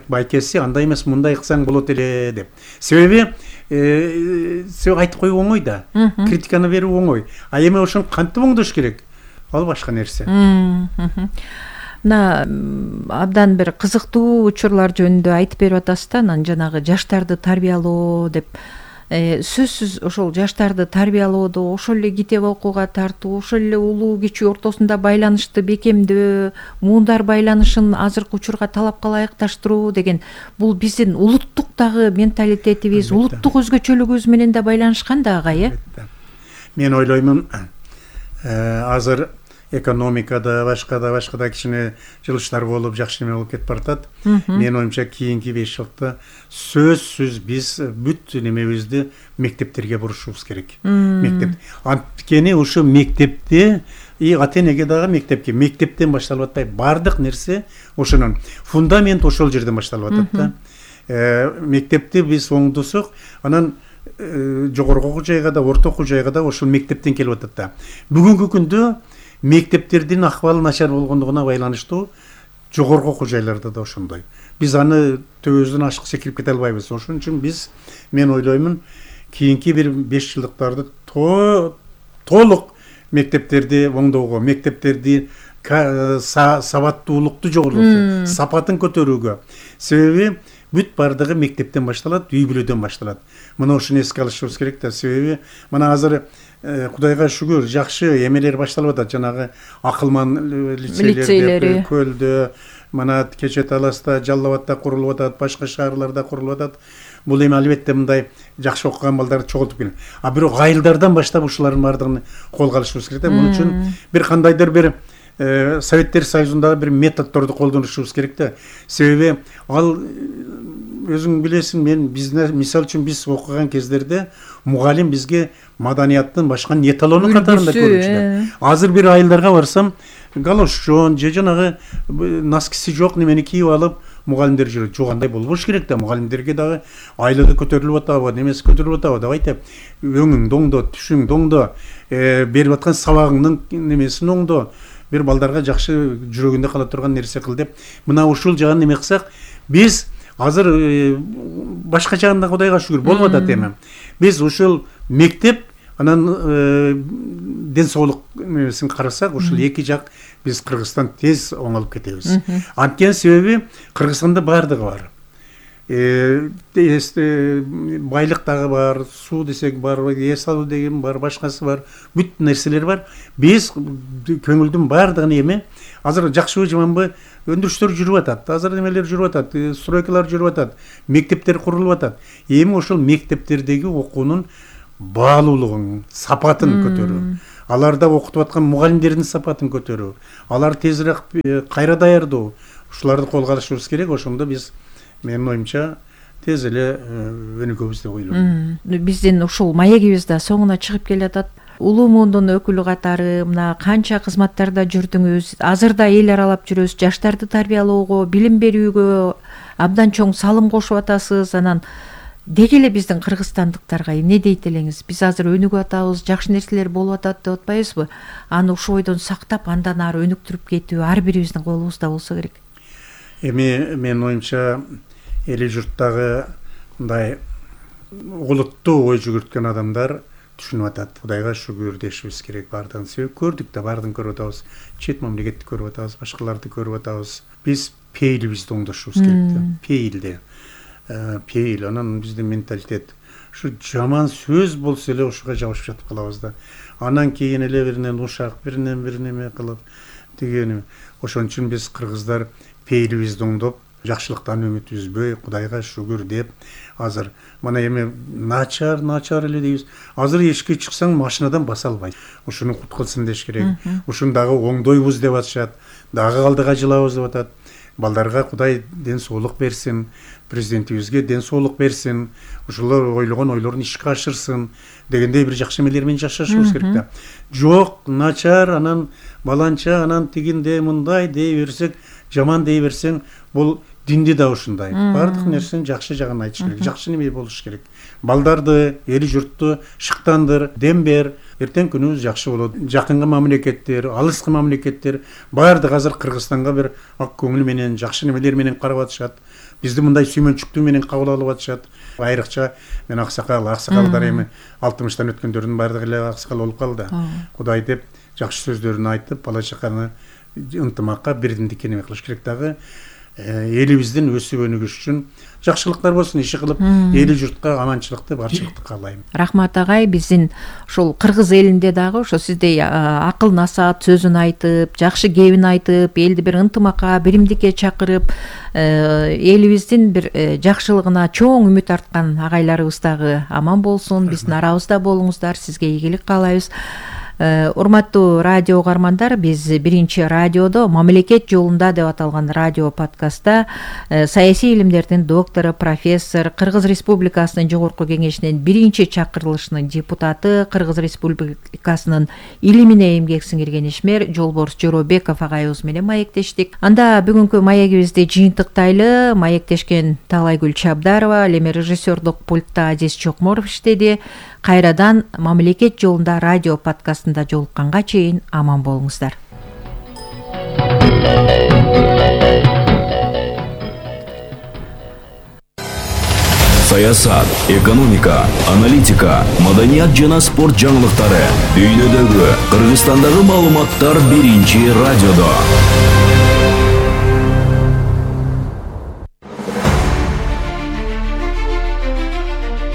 S2: байкеси андай эмес, мындай кылсаң болот эле деп. Себеби себеби айтып коюу оңой да. Критиканы берүү оңой. А эми ошону кантип оңдош керек? Ал башка нерсе.
S1: Мына абдан бир кызыктуу учурлар жөнүндө айтып берип атасыз да, анан жанагы жаштарды тарбиялоо деп. Сөзсүз ошол жаштарды тарбиялоодо, ошол эле китеп окууга тартуу, ошол эле улуу кичүү ортосунда байланышты бекемдөө, муундар байланышын азыркы учурга талапка ылайыкташтыруу деген бул биздин улуттук дагы менталитетибиз, улуттук өзгөчөлүгүбүз менен да байланышкан да ага, э?
S2: Мен ойлоймун, азыр экономикада, башкада, башкада кичине жылыштар болуп, жакшы неме болуп кетип баратат. Мен оюмча кийинки беш жылда сөзсүз биз бүт немебизди мектептерге бурушубуз керек. Мектеп. Анткени ушу мектепте и ата-энеге дагы мектепке, мектептен башталып атпайбы? Бардык нерсе ошонун фундамент ошол жерден башталып атат да. Мектепти биз оңдосок, анан жогорку окуу жайга да, орто окуу жайга да ошол мектептен келип атат да. Бүгүнкү күндө мектептердин акыбалы начар болгондугуна байланыштуу жогорку окуу жайларда да ошондой. Биз аны төбөбүздөн ашык секирип кете албайбыз. Ошон үчүн биз, мен ойлоймун, кийинки бир беш жылдыктарды толук мектептерди оңдоого, мектептерди сабаттуулукту жогорултуу, сапатын көтөрүүгө. Себеби бүт бардыгы мектептен башталат, үй бүлөдөн башталат. Мына ошону эске алышыбыз керек да. Себеби мына азыр Кудайга шүгүр жакшы эмелер башталып атат. Жанагы акылман лицейлерди, Көлдө, мына Кече Таласта, Жалал Абадта курулуп атат, башка шаарларда курулуп атат. Бул эми албетте мындай жакшы окуган балдарды чогултуп келет. А бирок айылдардан баштап ушулардын бардыгын колго алышыбыз керек да. Муну үчүн бир кандайдыр бир Советтер Союзундагы бир методдорду колдонушубуз керек да. Себеби ал өзүң билесиң, мен бизде мисалы үчүн биз окуган кездерде мугалим бизге маданияттын башка эталону катарында көрүнчү. Азыр бир айылдарга барсам, галошчон же жанагы носкиси жок немени кийип алып мугалимдер жүрөт. Жок, андай болбош керек да. Мугалимдерге дагы айлыгы көтөрүлүп атабы, немеси көтөрүлүп атабы деп айтып, өңүң доңдо, түшүң доңдо, берип аткан сабагыңдын немесин оңдо. Бир балдарга жакшы жүрөгүндө кала турган нерсе кыл деп, мына ушул жагын неме кылсак, биз азыр башка жагында Кудайга шүгүр болуп атат эми. Биз ушул мектеп, анан ден соолук немесин карасак, ушул эки жак биз Кыргызстан тез оңолуп кетебиз. Анткени себеби Кыргызстанда бардыгы бар. Байлык дагы бар, суу десек бар, эс алуу деген бар, башкасы бар, бүт нерселер бар. Биз көңүлдүн бардыгын эми азыр жакшыбы жаманбы өндүрүштөр жүрүп атат, азыр немелер жүрүп атат, стройкалар жүрүп атат, мектептер курулуп атат. Эми ошол мектептердеги окуунун баалуулугун, сапатын көтөрүү. аларда окутуп аткан мугалимдердин сапатын көтөрүү, алар тезирээк кайра даярдоо, ушуларды колго алышыбыз керек. Ошондо биз, менин оюмча, тез эле өнүгөбүз деп ойлойм.
S1: Биздин ушул маегибиз да соңуна чыгып келатат. Улуу муундун өкүлү катары мына канча кызматтарда жүрдүңүз, азыр да эл аралап жүрөсүз, жаштарды тарбиялоого, билим берүүгө абдан чоң салым кошуп атасыз. Анан деги эле биздин кыргызстандыктарга эмне дейт элеңиз? Биз азыр өнүгүп атабыз, жакшы нерселер болуп атат деп атпайбызбы? Аны ушул бойдон сактап, андан ары өнүктүрүп кетүү ар бирибиздин колубузда болсо керек.
S2: Эми менин оюмча эли журттагы мындай олуттуу ой жүгүрткөн адамдар түшүнүп атат. Кудайга шүгүр дешибиз керек. Бардыгын себеп көрдүк да, бардыгын көрүп атабыз. Чет мамлекетти көрүп атабыз, башкаларды көрүп атабыз. Биз пейилибизди оңдошубуз керек да. Пейилде. Пейил, анан биздин менталитет. Ушу жаман сөз болсо эле ушуга жабышып жатып калабыз да. Анан кийин эле биринен ушак, биринен бир неме кылып дегени. Ошон үчүн биз кыргыздар пейилибизди оңдоп, жакшылыктан үмүт үзбөй, Кудайга шүгүр деп, азыр мына эми начар, начар эле дейбиз. Азыр эшикке чыксаң машинадан баса албайсың. Ушуну кут кылсын деш керек. Ушуну дагы оңдойбуз деп атышат. Дагы калдыга жылабыз деп атат. Балдарга Кудай ден соолук берсин, президентибизге ден соолук берсин, ушулар ойлогон ойлорун ишке ашырсын дегендей бир жакшы эмелер менен жашашыбыз керек да. Жок, начар, анан баланча, анан тигинде мындай дей берсек, жаман дей берсең, бул динди да ушундай. Бардык нерсени жакшы жагын айтыш керек, жакшы неме болуш керек. Балдарды, эли журтту шыктандыр, дем бер, эртең күнүбүз жакшы болот. Жакынкы мамлекеттер, алыскы мамлекеттер бардык азыр Кыргызстанга бир ак көңүл менен, жакшы немелер менен карап атышат. Бизди мындай сүймөнчүктүү менен кабыл алып атышат. Айрыкча мен аксакал, аксакалдар эми алтымыштан өткөндөрдүн бардыгы эле аксакал болуп калды. Кудай деп жакшы сөздөрүн айтып, бала чаканы ынтымакка, бирдиндикке неме кылыш керек дагы. Элибиздин өсүп өнүгүш үчүн жакшылыктар болсун, иши кылып, эли журтка аманчылыкты, барчылыкты каалайм.
S1: Рахмат агай, биздин ушул кыргыз элинде дагы ошо сиздей акыл насаат сөзүн айтып, жакшы кебин айтып, элди бир ынтымакка, биримдикке чакырып, элибиздин бир жакшылыгына чоң үмүт арткан агайларыбыз дагы аман болсун. Биздин арабызда болуңуздар, сизге ийгилик каалайбыз. Урматтуу радио угармандар, биз биринчи радиодо мамлекет жолунда деп аталган радио подкастта саясий илимдердин доктору, профессор, Кыргыз Республикасынын жогорку кеңешинин биринчи чакырылышынын депутаты, Кыргыз Республикасынын илимине эмгек сиңирген ишмер Жолборс Жоробеков агайыбыз менен маектештик. Анда бүгүнкү маегибизди жыйынтыктайлы. Маектешкен Таалайгүл Чабдарова, ал эми режиссердук пультта Азиз Чокморов иштеди. Кайрадан мамлекет жолунда радио подкастында жолукканга чейин аман болуңуздар.
S3: Саясат, экономика, аналитика, маданият жана спорт жаңылыктары дүйнөдөгү, Кыргызстандагы маалыматтар биринчи радиодо.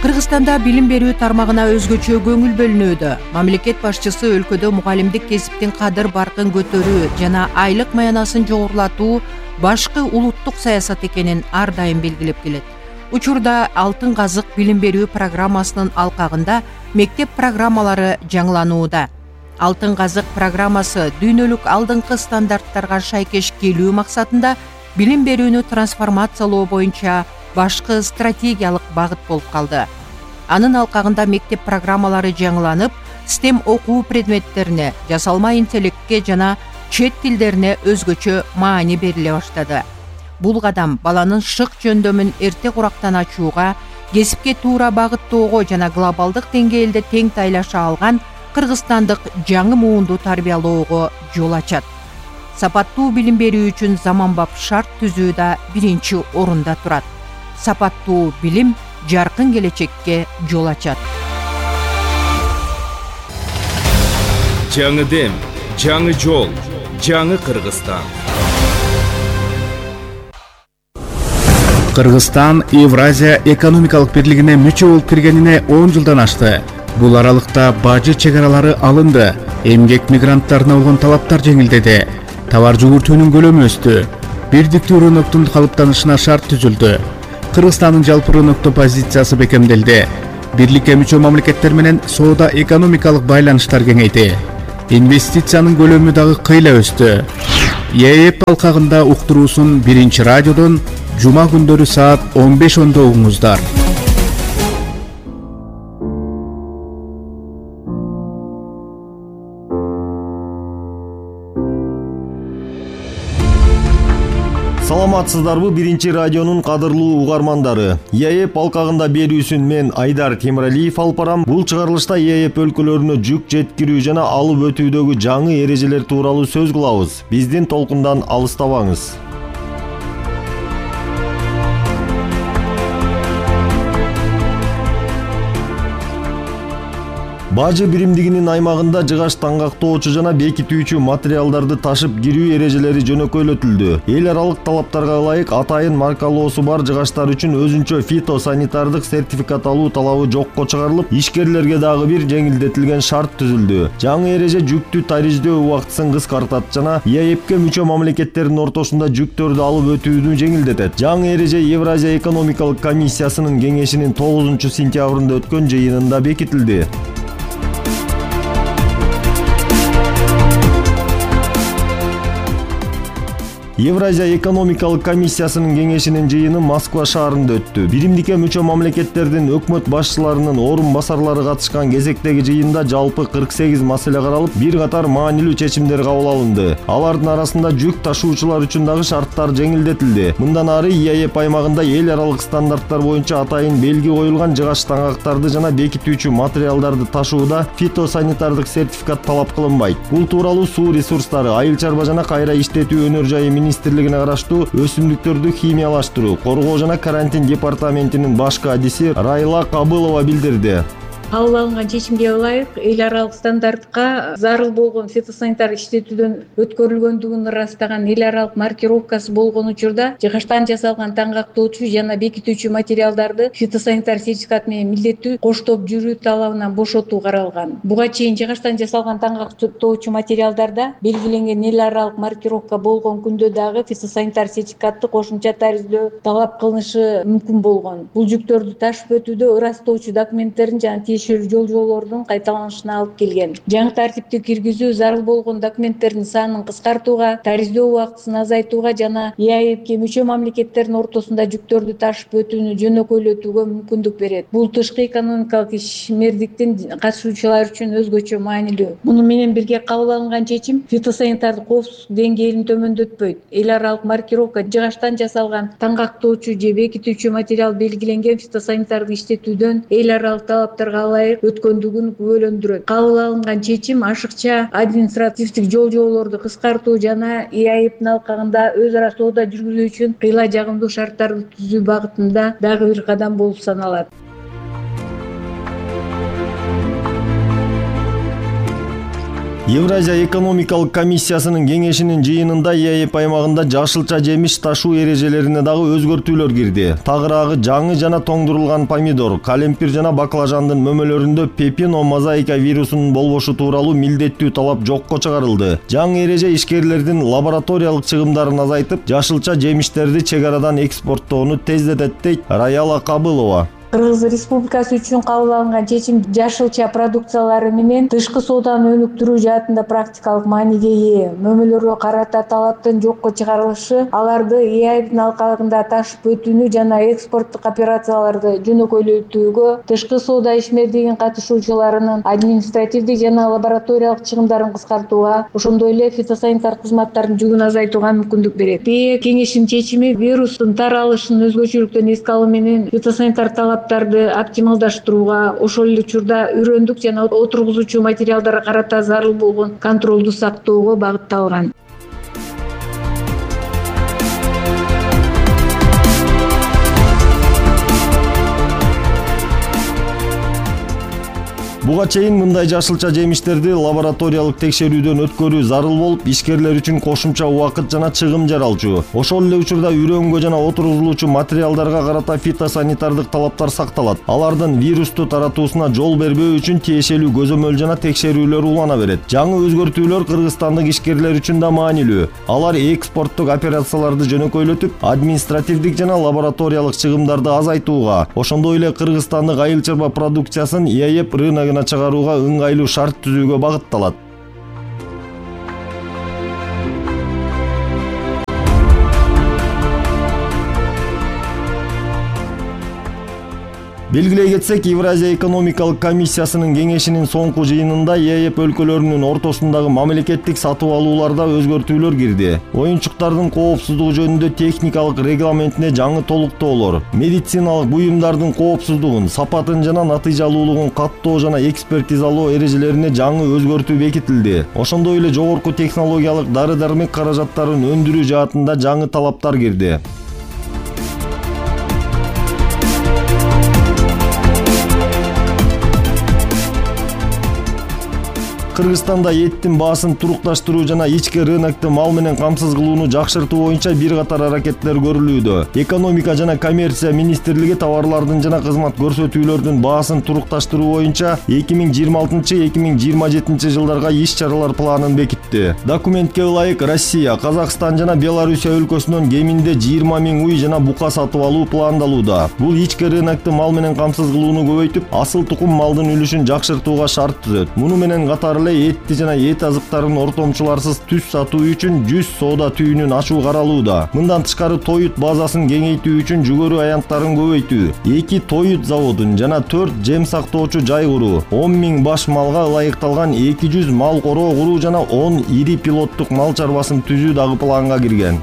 S1: Кыргызстанда билим берүү тармагына өзгөчө көңүл бөлүнүүдө. Мамлекет башчысы өлкөдө мугалимдик кесиптин кадыр баркын көтөрүү жана айлык маянасын жогорулатуу башкы улуттук саясат экенин ар дайым белгилеп келет. Учурда Алтын казык билим берүү программасынын алкагында мектеп программалары жаңыланууда. Алтын казык программасы дүйнөлүк алдыңкы стандарттарга шайкеш келүү максатында билим берүүнү трансформациялоо боюнча башкы стратегиялык багыт болуп калды. Анын алкагында мектеп программалары жаңыланып, стем окуу предметтерине, жасалма интеллектке жана чет тилдерине өзгөчө маани бериле баштады. Бул кадам баланын шык жөндөмүн эрте курактан ачууга, кесипке туура багыттоого жана глобалдык деңгээлде тең тайлаша алган кыргызстандык жаңы муунду тарбиялоого жол ачат. Сапаттуу билим берүү үчүн заманбап шарт түзүү да биринчи орунда турат. Сапаттуу билим жаркын келечекке жол ачат.
S3: Жаңы дем, жаңы жол, жаңы Кыргызстан.
S4: Кыргызстан Евразия экономикалык бирлигине мүчө болуп киргенине он жылдан ашты. Бул аралыкта бажы чек аралары алынды, эмгек мигранттарына болгон талаптар жеңилдеди, товар жүгүртүүнүн көлөмү өстү, бирдиктүү рыноктун калыптанышына шарт түзүлдү. Кыргызстандын жалпы рынокто позициясы бекемделди. Бирликке мүчө мамлекеттер менен соода экономикалык байланыштар кеңейди. Инвестициянын көлөмү дагы кыйла өстү. ЕЭП алкагында уктуруусун биринчи радиодон жума күндөрү саат он беш ондо угуңуздар.
S5: Саламатсыздарбы биринчи радионун кадырлуу угармандары. ЕЭП алкагында берүүсүн мен Айдар Темиралиев алып барам. Бул чыгарылышта ЕЭП өлкөлөрүнө жүк жеткирүү жана алып өтүүдөгү жаңы эрежелер тууралуу сөз кылабыз. Биздин толкундан алыстабаңыз. Бажы биримдигинин аймагында жыгач таңгактоочу жана бекитүүчү материалдарды ташып кирүү эрежелери жөнөкөйлөтүлдү. Эл аралык талаптарга ылайык атайын маркалоосу бар жыгачтар үчүн өзүнчө фитосанитардык сертификат алуу талабы жокко чыгарылып, ишкерлерге дагы бир жеңилдетилген шарт түзүлдү. Жаңы эреже жүктү тариздөө убактысын кыскартат жана ЕЭПке мүчө мамлекеттердин ортосунда жүктөрдү алып өтүүнү жеңилдетет. Жаңы эреже Евразия экономикалык комиссиясынын кеңешинин тогузунчу сентябрында өткөн жыйынында бекитилди. Евразия экономикалык комиссиясынын кеңешинин жыйыны Москва шаарында өттү. Биримдикке мүчө мамлекеттердин өкмөт башчыларынын орун басарлары катышкан кезектеги жыйында жалпы кырк сегиз маселе каралып, бир катар маанилүү чечимдер кабыл алынды. Алардын арасында жүк ташуучулар үчүн дагы шарттар жеңилдетилди. Мындан ары ЕЭП аймагында эл аралык стандарттар боюнча атайын белги коюлган жыгач таңгактарды жана бекитүүчү материалдарды ташууда фитосанитардык сертификат талап кылынбайт. Бул тууралуу суу ресурстары, айыл чарба жана кайра иштетүү өнөр жайы министрлигине караштуу өсүмдүктөрдү химиялаштыруу, коргоо жана карантин департаментинин баш кадиси Райла Кабылова билдирди.
S6: Кабыл алынган чечимге ылайык эл аралык стандартка зарыл болгон фитосанитар иштетүүдөн өткөрүлгөндүгүн ырастаган эл аралык маркировкасы болгон учурда жыгачтан жасалган таңгактоочу жана бекитүүчү материалдарды фитосанитар сертификат менен милдеттүү коштоп жүрүү талабынан бошотуу каралган. Буга чейин жыгачтан жасалган таңгактоочу материалдарда белгиленген эл аралык маркировка болгон күндө дагы фитосанитар сертификатты кошумча тариздөө талап кылынышы мүмкүн болгон. Бул жүктөрдү ташып өтүүдө ырастоочу документтердин жана жол жолордун кайталанышына алып келген. Жаңы тартипти киргизүү зарыл болгон документтердин санын кыскартууга, тариздөө убактысын азайтууга жана ЕАЭПке мүчө мамлекеттердин ортосунда жүктөрдү ташып өтүүнү жөнөкөйлөтүүгө мүмкүндүк берет. Бул тышкы экономикалык ишмердиктин катышуучулары үчүн өзгөчө маанилүү. Муну менен бирге кабыл алынган чечим фитосанитардык коопсуздук деңгээлин төмөндөтпөйт. Эл аралык маркировка жыгачтан жасалган таңгактоочу же бекитүүчү материал белгиленген фитосанитарды иштетүүдөн эл аралык талаптарга ылайык өткөндүгүн күбөлөндүрөт. Кабыл алынган чечим ашыкча административдик жол жолорду кыскартуу жана ЕАЭПтин алкагында өз ара соода жүргүзүү үчүн кыйла жагымдуу шарттарды түзүү багытында дагы бир кадам болуп саналат.
S5: Евразия экономикалык комиссиясынын кеңешинин жыйынында ЕАЭП аймагында жашылча жемиш ташуу эрежелерине дагы өзгөртүүлөр кирди. Тагыраагы жаңы жана тоңдурулган помидор, калемпир жана баклажандын мөмөлөрүндө пепино мозаика вирусунун болбошу тууралуу милдеттүү талап жокко чыгарылды. Жаңы эреже ишкерлердин лабораториялык чыгымдарын азайтып, жашылча жемиштерди чек арадан экспорттоону тездетет дейт Раяла Кабылова.
S6: Кыргыз Республикасы үчүн кабыл алынган чечим жашылча продукциялары менен тышкы сооданы өнүктүрүү жаатында практикалык мааниге ээ. Мөмөлөргө карата талаптын жокко чыгарылышы аларды ЕАЭПтин алкагында ташып өтүүнү жана экспорттук операцияларды жөнөкөйлөтүүгө, тышкы соода ишмердигинин катышуучуларынын административдик жана лабораториялык чыгымдарын кыскартууга, ошондой эле фитосанитар кызматтардын жүгүн азайтууга мүмкүндүк берет. БЭ кеңешинин чечими вирустун таралышын өзгөчөлүктөн эске алуу менен фитосанитар талап оптималдаштырууга, ошол эле учурда үрөндүк жана отургузуучу материалдарга карата зарыл болгон контролду сактоого багытталган.
S5: Буга чейин мындай жашылча жемиштерди лабораториялык текшерүүдөн өткөрүү зарыл болуп, ишкерлер үчүн кошумча убакыт жана чыгым жаралчу. Ошол эле учурда үрөнгө жана отургузулуучу материалдарга карата фитосанитардык талаптар сакталат. Алардын вирусту таратуусуна жол бербөө үчүн тиешелүү көзөмөл жана текшерүүлөр улана берет. Жаңы өзгөртүүлөр кыргызстандык ишкерлер үчүн да маанилүү. Алар экспорттук операцияларды жөнөкөйлөтүп, административдик жана лабораториялык чыгымдарды азайтууга, ошондой эле кыргызстандык айыл чарба продукциясын ЕАЭП рыногуна чыгарууга ыңгайлуу шарт түзүүгө багытталат. Белгилей кетсек, Евразия экономикалык комиссиясынын кеңешинин соңку жыйынында ЕЭП өлкөлөрүнүн ортосундагы мамлекеттик сатып алууларда өзгөртүүлөр кирди. Оюнчуктардын коопсуздугу жөнүндө техникалык регламентине жаңы толуктоолор, медициналык буюмдардын коопсуздугун, сапатын жана натыйжалуулугун каттоо жана экспертизалоо эрежелерине жаңы өзгөртүү бекитилди. Ошондой эле жогорку технологиялык дары-дармек каражаттарын өндүрүү жаатында жаңы талаптар кирди. Кыргызстанда эттин баасын турукташтыруу жана ички рынокту мал менен камсыз кылууну жакшыртуу боюнча бир катар аракеттер көрүлүүдө. Экономика жана коммерция министрлиги товарлардын жана кызмат көрсөтүүлөрдүн баасын турукташтыруу боюнча эки миң жыйырма алтынчы — эки миң жыйырма жетинчи жылдарга иш-чаралар планын бекитти. Документке ылайык Россия, Казакстан жана Белоруссия өлкөсүнөн кеминде жыйырма миң уй жана бука сатып алуу пландалууда. Бул ички рынокту мал менен камсыз кылууну көбөйтүп, асыл тукум малдын үлүшүн жакшыртууга шарт түзөт. Муну менен катар этти жана эт азыктарын ортомчуларсыз түз сатуу үчүн жүз соода түйүнүн ачуу каралууда. Мындан тышкары тоют базасын кеңейтүү үчүн жүгөрү аянттарын көбөйтүү, эки тоют заводун жана төрт жем сактоочу жай куруу, он миң баш малга ылайыкталган эки жүз мал короо куруу жана он ири пилоттук мал чарбасын түзүү дагы планга кирген.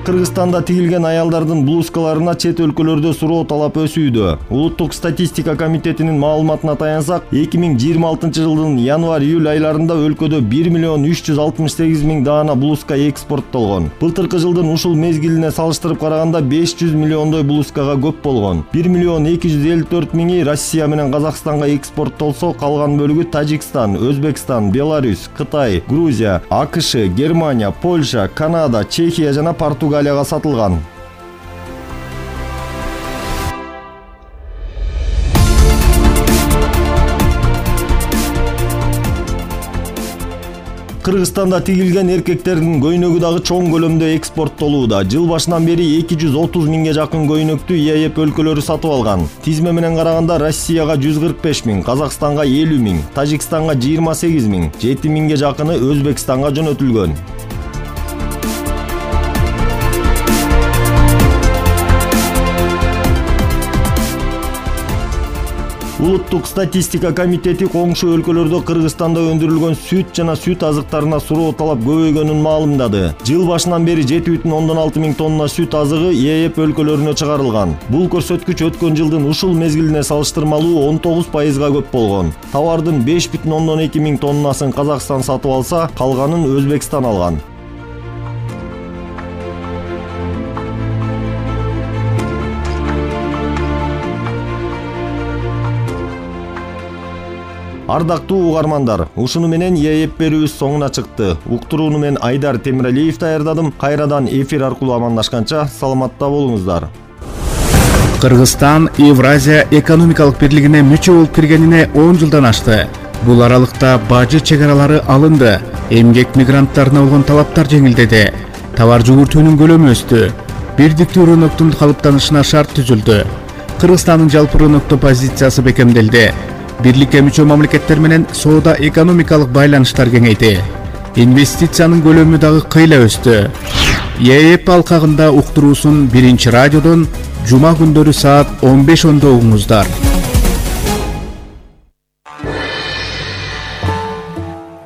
S5: Кыргызстанда тигилген аялдардын блузкаларына чет өлкөлөрдө суроо талап өсүүдө. Улуттук статистика комитетинин маалыматына таянсак, эки миң жыйырма алтынчы жылдын январь-июль айларында өлкөдө бир миллион үч жүз алтымыш сегиз миң даана блузка экспорттолгон. Былтыркы жылдын ушул мезгилине салыштырып караганда беш жүз миллиондой блузкага көп болгон. бир миллион эки жүз элүү төрт миңи Россия менен Казакстанга экспорттолсо, калган бөлүгү Тажикстан, Өзбекстан, Беларусь, Кытай, Грузия, АКШ, Германия, Польша, Канада, Чехия жана Португалия сатылган. Кыргызстанда тигилген эркектердин көйнөгү дагы чоң көлөмдө экспорттолууда. Жыл башынан бери эки жүз отуз миңге жакын көйнөктү ЕЭП өлкөлөрү сатып алган. Тизме менен караганда Россияга жүз кырк беш миң, Казакстанга элүү миң, Тажикстанга жыйырма сегиз миң, жети миңге жакыны Өзбекстанга жөнөтүлгөн. Улуттук статистика комитети коңшу өлкөлөрдө Кыргызстанда өндүрүлгөн сүт жана сүт азыктарына суроо талап көбөйгөнүн маалымдады. Жыл башынан бери жети бүтүн ондон алты миң тонна сүт азыгы ЕЭП өлкөлөрүнө чыгарылган. Бул көрсөткүч өткөн жылдын ушул мезгилине салыштырмалуу он тогуз пайызга көп болгон. Товардын беш бүтүн ондон эки миң тоннасын Казакстан сатып алса, калганын Өзбекстан алган. Ардактуу угармандар, ушуну менен ЕЭП берүүбүз соңуна чыкты. Уктурууну мен Айдар Темиралиев даярдадым. Кайрадан эфир аркылуу амандашканча саламатта болуңуздар.
S4: Кыргызстан Евразия экономикалык бирлигине мүчө болуп киргенине он жылдан ашты. Бул аралыкта бажы чегаралары алынды. Эмгек мигранттарына болгон талаптар жеңилдеди. Товар жүгүртүүнүн көлөмү өстү. Бирдиктүү рыноктун калыптанышына шарт түзүлдү. Кыргызстандын жалпы рыноктоо позициясы бекемделди. Бирликке мүчө мамлекеттер менен соода экономикалык байланыштар кеңейди. Инвестициянын көлөмү дагы кыйла өстү. ЕЭП алкагында уктуруусун биринчи радиодон жума күндөрү саат он беш ондо угуңуздар.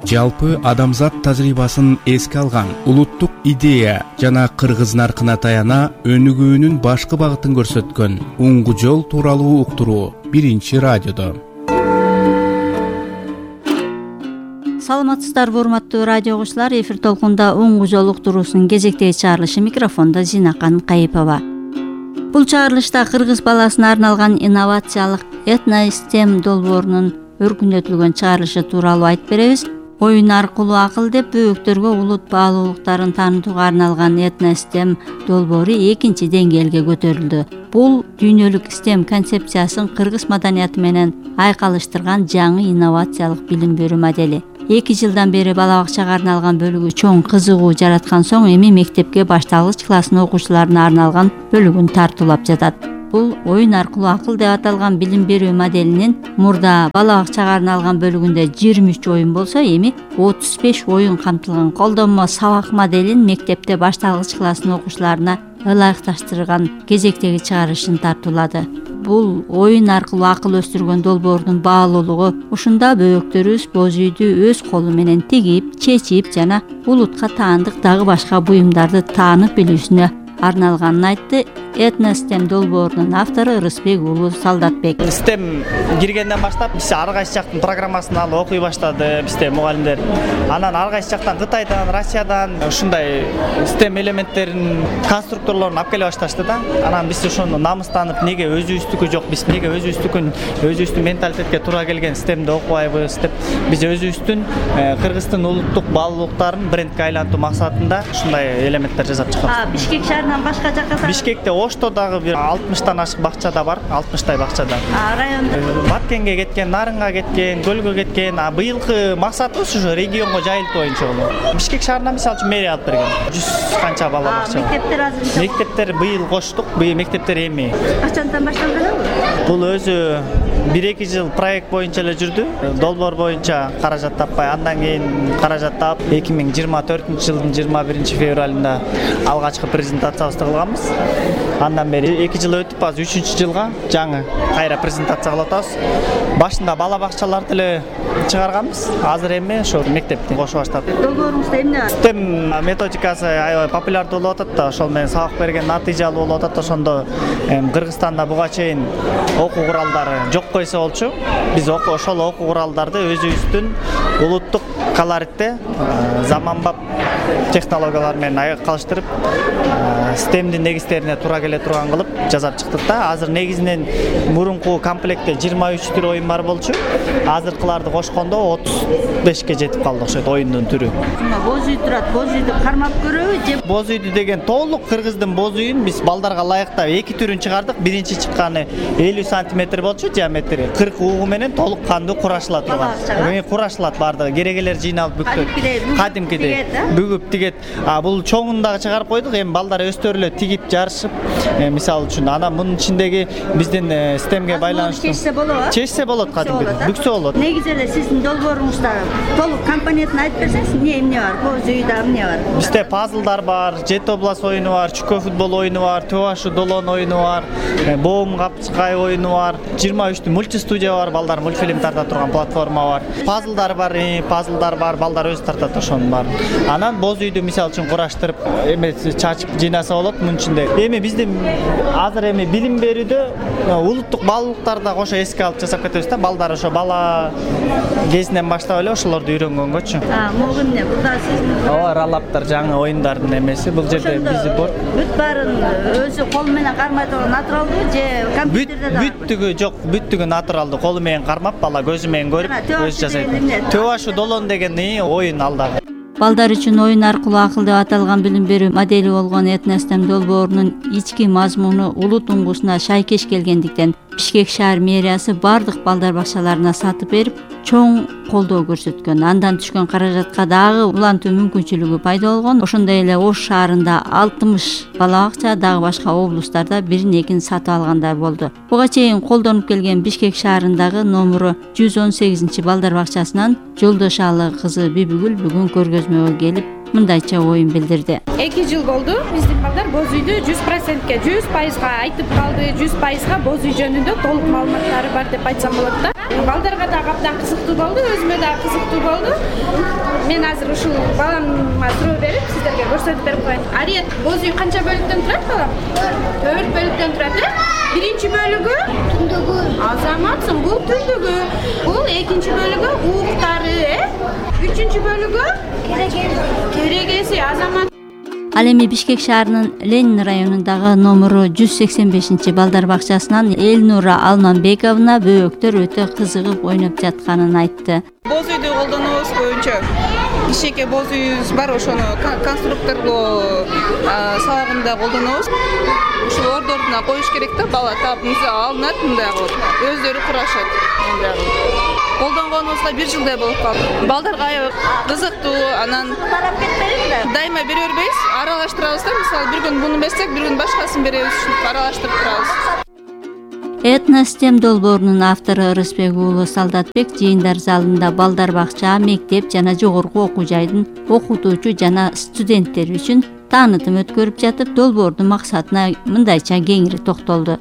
S4: Жалпы адамзат тажрыйбасын эске алган улуттук идея жана кыргыз наркына таяна өнүгүүнүн башкы багытын көрсөткөн уңгу жол тууралуу уктуруу биринчи радиодо.
S7: Саламатсыздарбы урматтуу радио угуучулар, эфир толкунда уңгу жол уктуруусунун кезектеги чыгарылышы, микрофондо Зинакан Кайыпова. Бул чыгарылышта кыргыз баласына арналган инновациялык этно-стем долбоорунун өркүндөтүлгөн чыгарылышы тууралуу айтып беребиз. Оюн аркылуу акыл деп бөөктөргө улут баалуулуктарын таанытууга арналган этно-стем долбоору экинчи деңгээлге көтөрүлдү. Бул дүйнөлүк стем концепциясын кыргыз маданияты менен айкалыштырган жаңы инновациялык билим берүү модели. Эки жылдан бери бала бакчага арналган бөлүгү чоң кызыгуу жараткан соң эми мектепке башталгыч класстын окуучуларына арналган бөлүгүн тартуулап жатат. Бул оюн аркылуу акыл деп аталган билим берүү моделинин мурда бала бакчага арналган бөлүгүндө жыйырма үч оюн болсо, эми отуз беш оюн камтылган колдонмо сабак моделин мектепте башталгыч класстын окуучуларына ылайыкташтырган кезектеги чыгарышын тартуулады. Бул оюн аркылуу акыл өстүргөн долбоордун баалуулугу ушунда бөбөктөрүбүз боз үйдү өз колу менен тигип, чечип жана улутка таандык дагы башка буюмдарды таанып билүүсүнө арналганын айтты Этностем долбоорунун автору Ырысбек уулу Солдатбек.
S8: Стем киргенден баштап биз ар кайсы жактын программасын алып окуй баштады бизде мугалимдер. Анан ар кайсы жактан Кытайдан, Россиядан ушундай стем элементтерин, конструкторлорун алып келе башташты да. Анан биз ошону намыстанып, неге өзүбүздүкү жок, биз неге өзүбүздүкүн, өзүбүздүн менталитетке туура келген стемди окубайбыз деп биз өзүбүздүн Кыргыздын улуттук баалуулуктарын брендке айлантуу максатында ушундай элементтер жасап чыкабыз.
S7: А Бишкек шаарынан башка жакка?
S8: Бишкекте Ошто дагы бир алтымыштан ашык бакчада бар, алтымыштай бакчада.
S7: А районда
S8: Баткенге кеткен, Нарынга кеткен, Көлгө кеткен. А быйылкы максатыбыз ушу регионго жайылтуу боюнча болот. Бишкек шаарынан мисалы үчүн мэрия алып берген. жүз канча бала бакча.
S7: Мектептер азыр?
S8: Мектептер быйыл коштук, быйыл мектептер эми.
S7: Качандан башталганбы?
S8: Бул өзү бир эки жыл проект боюнча эле жүрдү. Долбоор боюнча каражат таппай, андан кийин каражат таап эки миң жыйырма төртүнчү жылдын жыйырма биринчи февралында алгачкы презентациябызды кылганбыз. Андан бери эки жыл өтүп, азыр үчүнчү жылга жаңы кайра презентация кылып атабыз. Башында бала бакчаларды эле чыгарганбыз. Азыр эми ошо мектепти кошо баштадык.
S7: Долбоорубузда эмне бар?
S8: Стем методикасы аябай популярдуу болуп атат да, ошол менен сабак берген натыйжалуу болуп атат. Ошондо Кыргызстанда буга чейин окуу куралдары жок койсо болчу. Биз ошол окуу куралдарды өзүбүздүн улуттук колоритте заманбап технологиялар менен айкалыштырып, стемдин негиздерине туура келе турган кылып жасап чыктык да. Азыр негизинен мурунку комплектте жыйырма үч түр оюн бар болчу. Азыркыларды кошкондо отуз бешке жетип калды окшойт оюндун түрү.
S7: Боз үй турат, боз үйдү кармап көрөбү же?
S8: Боз үйдү деген толук кыргыздын боз үйүн биз балдарга ылайыктап эки түрүн чыгардык. Биринчи чыкканы элүү сантиметр болчу, диаметри кырк угу менен толук кандуу курашыла турган. Эми курашылат бардыгы, керегелер жыйналып бүктөт. Кадимкидей бүгүп тигет. А бул чоңун дагы чыгарып койдук. Эми балдар өздөрү эле тигип жарышып, мисалы үчүн анан мунун ичиндеги биздин стемге байланыштуу
S7: чечсе болобу?
S8: Чечсе болот, кадимкидей бүксө болот.
S7: Негизи эле сиздин долбооруңузда толук компонентин айтып берсеңиз, эмне эмне бар? Боз үйдө эмне бар?
S8: Бизде пазлдар бар, Жет облас оюну бар, чүкө футбол оюну бар, Төашу долон оюну бар, Боом капчыкай оюну бар, жыйырма үч мультистудия бар, балдар мультфильм тарта турган платформа бар. Пазлдар бар, пазлдар бар, балдар өзү тартат ошонун бар. Анан боз үйдү мисалы үчүн кураштырып, эме чачып жыйнаса болот мунун ичинде. Эми биздин азыр эми билим берүүдө улуттук баалуулуктарды кошо эске алып жасап кетебиз да. Балдар ошо бала кезинен баштап эле ошолорду үйрөнгөнгөчү.
S7: А, могу эмне? Бул да сиздин
S8: Ооба, ралаптар жаңы оюндардын эмеси. Бул жерде биз бор.
S7: Бүт баарын өзү кол менен кармай турган натуралдуу же компьютерде да?
S8: Бүттүгү жок, бүттүгү натуралдуу, колу менен кармап, бала көзү менен көрүп, өзү жасайт. Төашу долон деген оюн алда.
S7: Балдар үчүн оюн аркылуу акыл деп аталган билим берүү модели болгон Этностем долбоорунун ички мазмуну улут уңгусуна шайкеш келгендиктен Бишкек шаар мэриясы бардык балдар бакчаларына сатып берип, чоң колдоо көрсөткөн. Андан түшкөн каражатка дагы улантуу мүмкүнчүлүгү пайда болгон. Ошондой эле Ош шаарында алтымыш бала бакча, дагы башка облустарда бирин экин сатып алгандар болду. Буга чейин колдонуп келген Бишкек шаарындагы номуру жүз он сегизинчи балдар бакчасынан Жолдошалы кызы Бибигүл бүгүн көргөзмөгө келип мындайча оюн билдирди.
S9: эки жыл болду биздин балдар боз үйдү жүз процентке, жүз пайызга айтып калды, жүз пайызга боз үй жөнүндө толук маалыматтары бар деп айтсам болот да. Балдарга да абдан кызыктуу болду, өзүмө да кызыктуу болду. Мен азыр ушул баламга суроо берип, сиздерге көрсөтүп берип коеюн. Ариет, боз үй канча бөлүктөн турат балам? төрт бөлүктөн турат, э? Биринчи бөлүгү түндүгү. Азаматсың, бул түндүгү. Бул экинчи бөлүгү ууктары, э? Үчүнчү бөлүгү керегеси, азамат.
S7: Ал эми Бишкек шаарынын Ленин районундагы номуру жүз сексен бешинчи балдар бакчасынан Элнура Алманбековна бөбөктөр өтө кызыгып ойноп жатканын айтты.
S10: Боз үйдү колдонобуз көбүнчө. Кичээке боз үйүбүз бар, ошону конструкторлоо сабагында колдонобуз. Ушул ордоруна коюш керек да, бала таап алынат, мындай кылып өздөрү курашат. Колдонгонубузга бир жылдай болуп калды. Балдарга аябай кызыктуу, анан
S7: Тарап кетпейбизби?
S10: Дайыма бере бербейбиз, аралаштырабыз да. Мисалы бир күн буну берсек, бир күн башкасын беребиз, аралаштырып турабыз.
S7: Этностем долбоорунун автору Рысбек уулу Солдатбек жыйындар залында балдар бакча, мектеп жана жогорку окуу жайдын окутуучу жана студенттери үчүн таанытым өткөрүп жатып, долбоордун максатына мындайча кеңири токтолду.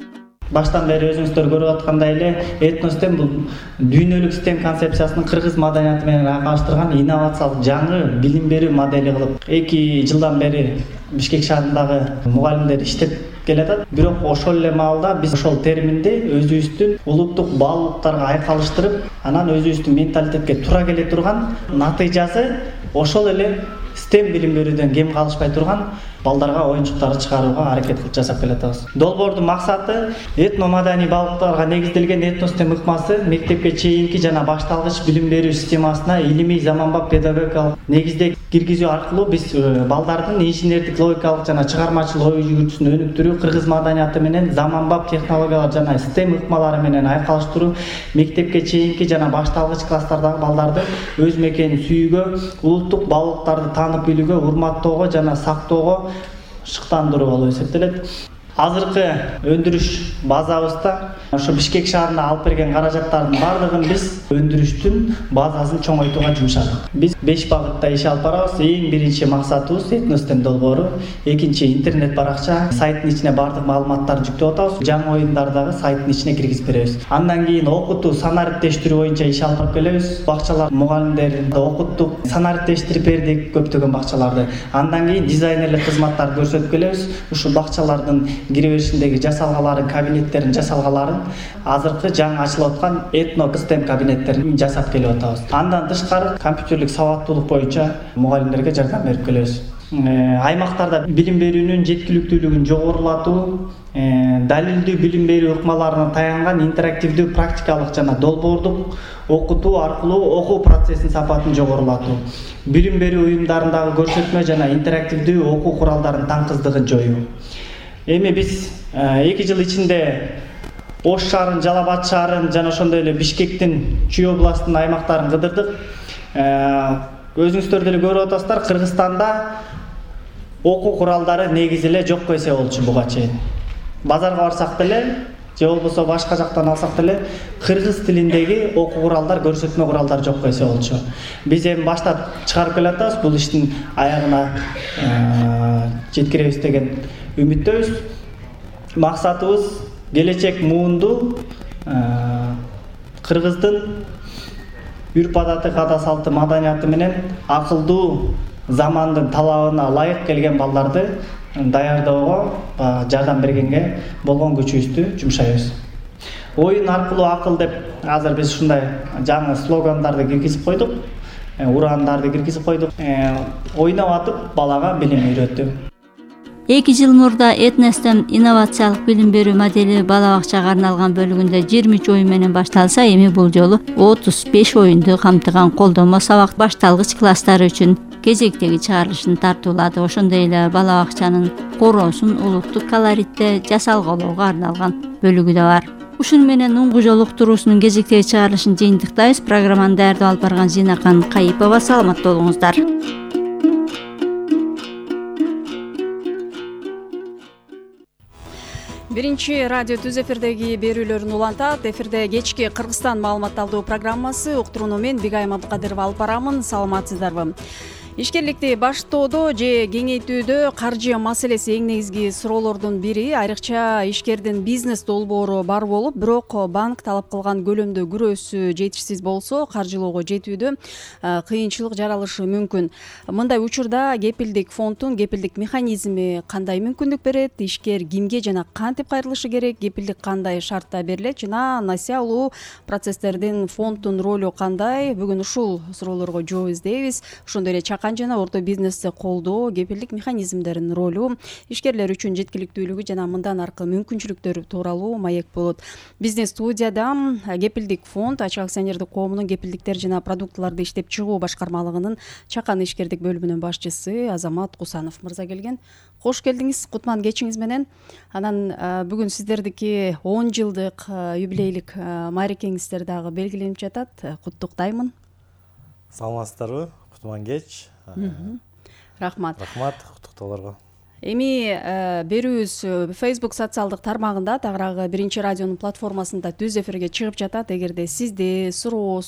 S8: Баштан бери өзүңүздөр көрүп аткандай эле этностем бул дүйнөлүк стем концепциясынын кыргыз маданияты менен айкалыштырган инновациялык жаңы билим берүү модели кылып эки жылдан бери Бишкек шаарындагы мугалимдер иштеп келатат. Бирок ошол эле маалда биз ошол терминди өзүбүздүн улуттук баалуулуктарга айкалыштырып, анан өзүбүздүн менталитетке туура келе турган натыйжасы ошол эле стем билим берүүдөн кем калышпай турган балдарга оюнчуктарды чыгарууга аракет кылып жасап келатабыз. Долбоордун максаты этно маданий баалуулуктарга негизделген этностем ыкмасы мектепке чейинки жана башталгыч билим берүү системасына илимий заманбап педагогикалык негизде киргизүү аркылуу биз балдардын инженердик, логикалык жана чыгармачыл ой жүгүртүүсүн өнүктүрүү, кыргыз маданияты менен заманбап технологиялар жана стем ыкмалары менен айкалыштыруу, мектепке чейинки жана башталгыч класстардагы балдарды өз мекенин сүйүүгө, улуттук баалуулуктарды таанып билүүгө, урматтоого жана сактоого шыктандыруу болуп эсептелет. Азыркы өндүрүш базабызда ошо Бишкек шаарына алып берген каражаттардын баардыгын биз өндүрүштүн базасын чоңойтууга жумшадык. Биз беш багытта иш алып барабыз. Эң биринчи максатыбыз этностем долбоору, экинчи интернет баракча, сайттын ичине баардык маалыматтарды жүктөп атабыз. Жаңы оюндардагы сайттын ичине киргизип беребиз. Андан кийин окутуу, санариптештирүү боюнча иш алып келебиз. Бакчалар мугалимдерин окуттук, санариптештирип бердик көптөгөн бакчаларды. Андан кийин дизайнерлик кызматтарды көрсөтүп келебиз. Ушул бакчалардын кире беришиндеги жасалгаларын, кабинеттерин жасалгаларын азыркы жаңы ачылып аткан этно стем кабинеттерин жасап келип атабыз. Андан тышкары компьютерлик сабаттуулук боюнча мугалимдерге жардам берип келебиз. Аймактарда билим берүүнүн жеткиликтүүлүгүн жогорулатуу, далилдүү билим берүү ыкмаларына таянган интерактивдүү практикалык жана долбоордук окутуу аркылуу окуу процессинин сапатын жогорулатуу, билим берүү уюмдарындагы көрсөтмө жана интерактивдүү окуу куралдарынын таңкыздыгын жоюу. Эми биз эки жыл ичинде Ош шаарын, Жалал Абад шаарын жана ошондой эле Бишкектин Чүй областынын аймактарын кыдырдык. Өзүңүздөр деле көрүп атасыздар, Кыргызстанда окуу куралдары негизи эле жок эсе болчу буга чейин. Базарга барсак деле же болбосо башка жактан алсак деле кыргыз тилиндеги окуу куралдар, көрсөтмө куралдар жок эсе болчу. Биз эми баштап чыгарып келатабыз, бул иштин аягына жеткиребиз деген үмүттөбүз. Максатыбыз келечек муунду кыргыздын үрп адаты, каада салты, маданияты менен акылдуу замандын талабына ылайык келген балдарды даярдоого, жардам бергенге болгон күчүбүздү жумшайбыз. Оюн аркылуу акыл деп азыр биз ушундай жаңы слогандарды киргизип койдук, урандарды киргизип койдук. Ойноп атып балага билим үйрөтүү.
S7: Эки жыл мурда этностем инновациялык билим берүү модели бала бакчага арналган бөлүгүндө жыйырма үч оюн менен башталса, эми бул жолу отуз беш оюнду камтыган колдонмо сабак башталгыч класстар үчүн кезектеги чыгарылышын тартуулады. Ошондой эле бала бакчанын короосун улуттук колоритте жасалгалоого арналган бөлүгү да бар. Ушуну менен уңгужол уктуруусунун кезектеги чыгарылышын жыйынтыктайбыз. Программаны даярдап алып барган Зинакан Кайыпова. Саламатта болуңуздар.
S11: Биринчи радио түз эфирдеги берүүлөрүн улантат. Эфирде кечки Кыргызстан маалымат алуу программасы. Уктурууну мен Бигайым Абдыкадырова алып барамын. Саламатсыздарбы? Ишкерликти баштоодо же кеңейтүүдө каржы маселеси эң негизги суроолордун бири. Айрыкча ишкердин бизнес долбоору бар болуп, бирок банк талап кылган көлөмдө күрөөсү жетишсиз болсо, каржылоого жетүүдө кыйынчылык жаралышы мүмкүн. Мындай учурда кепилдик фонддун кепилдик механизми кандай мүмкүндүк берет? Ишкер кимге жана кантип кайрылышы керек? Кепилдик кандай шартта берилет? Жана насыя алуу процесстердин фонддун ролу кандай? Бүгүн ушул суроолорго жооп издейбиз. Ошондой эле жана орто бизнести колдоо, кепилдик механизмдеринин ролу, ишкерлер үчүн жеткиликтүүлүгү жана мындан аркы мүмкүнчүлүктөр тууралуу маек болот. Биздин студияда кепилдик фонд ачык акционердик коомунун кепилдиктер жана продуктыларды иштеп чыгуу башкармалыгынын Чакан ишкердик бөлүмүнүн башчысы Азамат Кусанов мырза келген. Кош келдиңиз, кутман кечиңиз менен. Анан бүгүн сиздердики он жылдык юбилейлик маарекеңиздер дагы белгиленип жатат. Куттуктаймын.
S12: Саламатсыздарбы? Кутман кеч.
S11: Рахмат.
S12: Рахмат, куттуктоолорго.
S11: Эми берүүбүз Facebook социалдык тармагында, тагыраагы биринчи радионун платформасында түз эфирге чыгып жатат. Эгерде сизде суроо